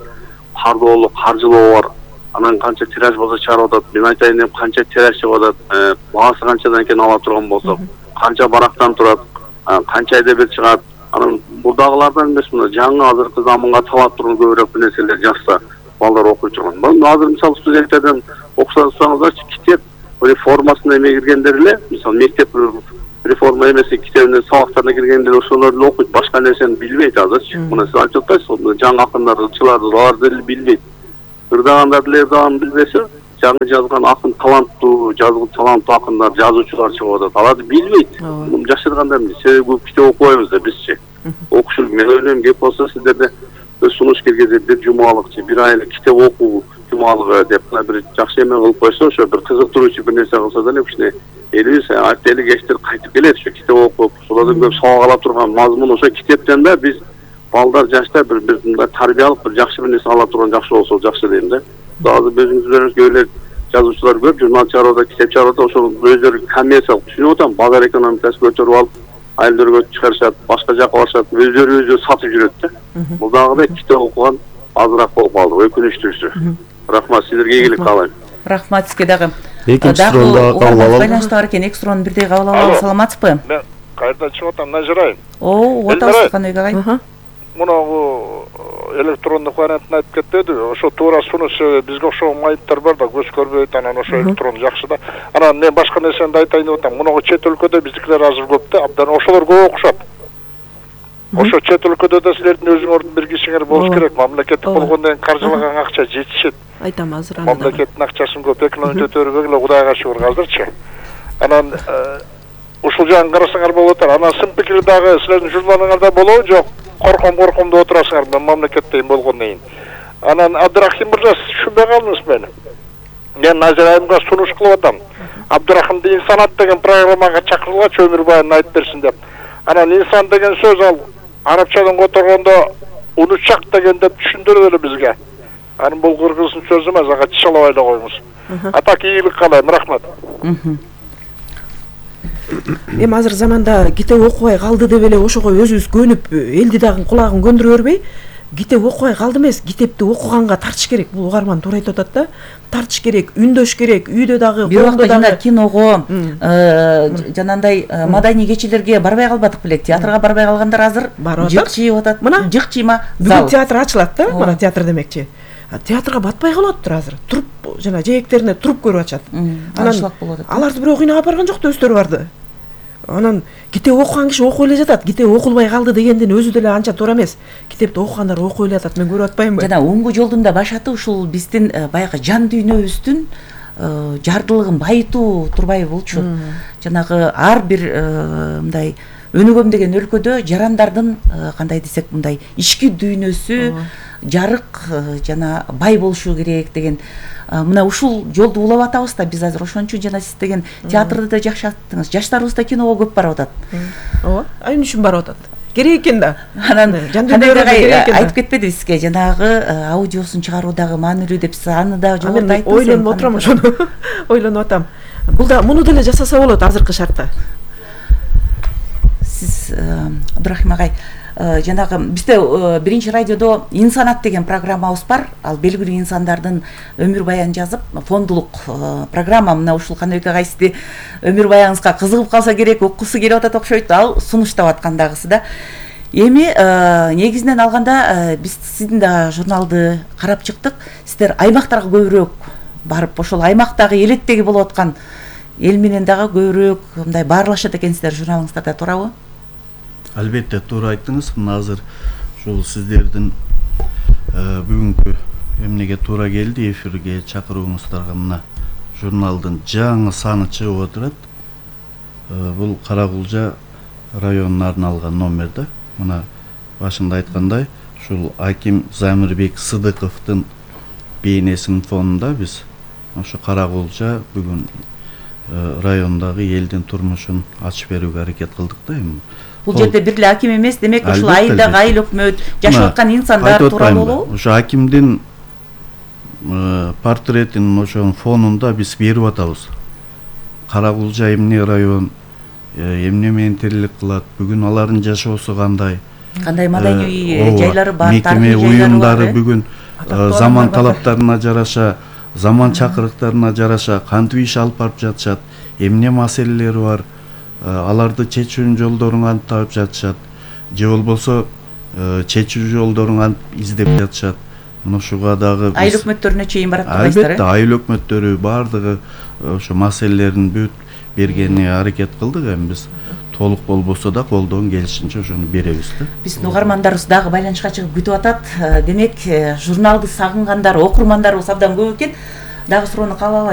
кардоолу, каржылоо бар. Анан канча тираж болсо чыгарып атат. Мен айтайын деп канча тираж чыгып атат, баасы канчадан экенин ала турган болсок, канча барактан турат, канча эдебиет чыгат. Анан бурдагылардан эмес, мына жаңы азыркы заманга талап турган көбүрөөк нерселер жазса, балдар окуй турган. Мына азыр мисалы студенттерден окусаңыздарчы, китеп реформасына эме киргендер эле, мисалы мектеп реформа эмеси китебинин сабактарына киргендер ошолор эле окуйт, башка нерсени билбейт азырчы. Мына сиз айтып атасыз, жаңы акындар, ырчылар, алар деле билбейт. Ырдагандар деле ырдаган билбесе, жаңы жазган акын таланттуу, таланттуу акындар, жазуучулар чыгып атат. Аларды билбейт. Муну жашырганда эмне? Себеби көп китеп окубайбыз да бизчи. Окушул, мен ойлойм, кеп болсо сиздерде сунуш киргизип бир жумалыкчы, бир ай эле китеп окуу жумалыгы деп бир жакшы эме кылып койсо, ошо бир кызыктыруучу бир нерсе кылса деле кичине элибиз артели кечтер кайтып келет, ошо китеп окуп, ошолордон көп сабак ала турган мазмун ошо китептен да биз балдар жашта бир мындай тарбиялык бир жакшы бир нерсе ала турган жакшы болсо жакшы дейм да. Азыр өзүңүздөр көбүлөр жазуучулар көп, журнал чыгарып атат, китеп чыгарып атат, ошол өздөрү коммерциялык түшүнүп атам, базар экономикасын көтөрүп алып, айылдарга чыгарышат, башка жака барышат, өздөрү сатып жүрөт да. Бул дагы китеп окуган азыраак болуп калды, өкүнүчтүүсү. Рахмат, сиздерге ийгилик каалайм. Рахмат сизге дагы. Экинчи суроону кабыл алалы. Байланышта бар экен, эки суроону бирдей кабыл алалы. Саламатсызбы? Мен кайрадан чыгып атам, Назирайым. Угуп атабыз, кандай агай? мунагу электрондук вариантын айтып кетпедиби? Ошо туура сунушу бизге окшогон майыптар бар да, көз көрбөйт, анан ошо электрон жакшы да. Анан мен башка нерсени да айтайын деп атам. Мунагу чет өлкөдө биздикилер азыр көп да, абдан ошолор көп окушат. Ошо чет өлкөдө да силердин өзүңөрдүн бир кишиңер болуш керек. Мамлекеттик болгондон кийин каржылаган акча жетишет. Айтам азыр аны. Мамлекеттин акчасын көп экономия өтөрбөгүлө Кудайга шүгүр азырчы. Анан ушул жагын карасаңар болуп атат. Анан сын пикир дагы силердин журналыңарда болобу, жок? Корком деп отурасыңар мен мамлекеттен болгондон кийин. Анан Абдрахим мырза түшүнбөй калдыңыз мени. Мен Назира айымга сунуш кылып атам. Абдрахимди инсанат деген программага чакырылгачы өмүр баянын айтып берсин деп. Анан инсан деген сөз ал арабчадан которгондо унучак деген деп түшүндүрүп эле бизге. Анын бул кыргыздын сөзү эмес, ага чычалабай эле коюңуз. Атак ийгилик каалайм, рахмат. Эми азыр заманда китеп окубай калды деп эле ошого өзүбүз көнүп, элди дагы кулагын көндүрө бербей, китеп окубай калды эмес, китепти окуганга тартыш керек. Бул угарман туура айтып атат да. Тартыш керек, үндөш керек, үйдө дагы, бир убакта жана киного, жанандай маданий кечелерге барбай калбадык белек, театрга барбай калгандар азыр жыкчыйып атат. Мына жыкчыйма бүгүн театр ачылат да, мына театр демекчи. Театрга батпай калыптыр азыр. Туруп жана жээктерине туруп көрүп ачат. Анан аларды бирөө кыйнап барган жок да, өздөрү барды. Анан китеп окуган киши окуп эле жатат. Китеп окулбай калды дегендин өзү деле анча туура эмес. Китепти окугандар окуп эле жатат. Мен көрүп атпаймынбы? Жана оңгу жолдун да башаты ушул биздин баягы жан дүйнөбүздүн жардылыгын байытуу турбай болчу. Жанагы ар бир мындай өнүгөм деген өлкөдө жарандардын кандай десек мындай ички дүйнөсү жарык жана бай болушу керек деген мына ушул жолду улап атабыз да биз азыр. Ошон үчүн жана сиз деген театрды да жакшы аттыңыз. Жаштарыбыз да киного көп барып атат. Ооба, эмне үчүн барып атат? Керек экен да. Анан айтып кетпеди сизге жанагы аудиосун чыгаруудагы маанилүү деп, сиз аны да жогоруда айттыңыз. Ойлонуп отурам ошону. Ойлонуп атам. Бул да муну деле жасаса болот азыркы шартта. Сиз Абдрахим агай, жанагы бизде биринчи радиодо инсанат деген программабыз бар. Ал белгилүү инсандардын өмүр баянын жазып, фондулук программа. Мына ушул Каныбек агай сизди өмүр баяңызга кызыгып калса керек, окугусу келип атат окшойт. Ал сунуштап аткандагысы да. Эми негизинен алганда биз сиздин да журналды карап чыктык. Сиздер аймактарга көбүрөөк барып, ошол аймактагы элеттеги болуп аткан эл менен дагы көбүрөөк мындай баарлашат экенсиздер журналыңыздарда, туурабы? Албетте туура айттыңыз. Мына азыр ушул сиздердин бүгүнкү эмнеге туура келди эфирге чакырууңуздарга мына журналдын жаңы саны чыгып отурат. Бул Каракулжа районуна арналган номер да. Мына башында айткандай, ушул Аким Замирбек Сыдыковдун бейнесинин фонунда биз ошо Каракулжа бүгүн райондагы элдин турмушун ачып берүүгө аракет кылдык да. Эми бул жерде бир эле аким эмес, демек ушул айылдагы айыл өкмөт жашап аткан инсандар тууралуу болобу? Ошо акимдин портретин ошонун фонунда биз берип атабыз. Каракулжа эмне район, эмне менен тирилик кылат, бүгүн алардын жашоосу кандай маданий жайлары бар, тарыхый уюмдары бүгүн заман талаптарына жараша, заман чакырыктарына жараша кантип иш алып барып жатышат, эмне маселелери бар, аларды чечүүнүн жолдорун кантип таап жатышат, же болбосо чечүү жолдорун кантип издеп жатышат. Мына ушуга дагы айыл өкмөттөрүнө чейин барат турбайсыздар. Албетте, айыл өкмөттөрү баардыгы ошо маселелерин бүт бергенине аракет кылдык. Эми биз толук болбосо да колдон келишинче ошону беребиз да. Биздин угармандарыбыз дагы байланышка чыгып күтүп атат. Демек, журналды сагынгандар, окурмандарыбыз абдан көп экен. Дагы суроону кабыл алайлы.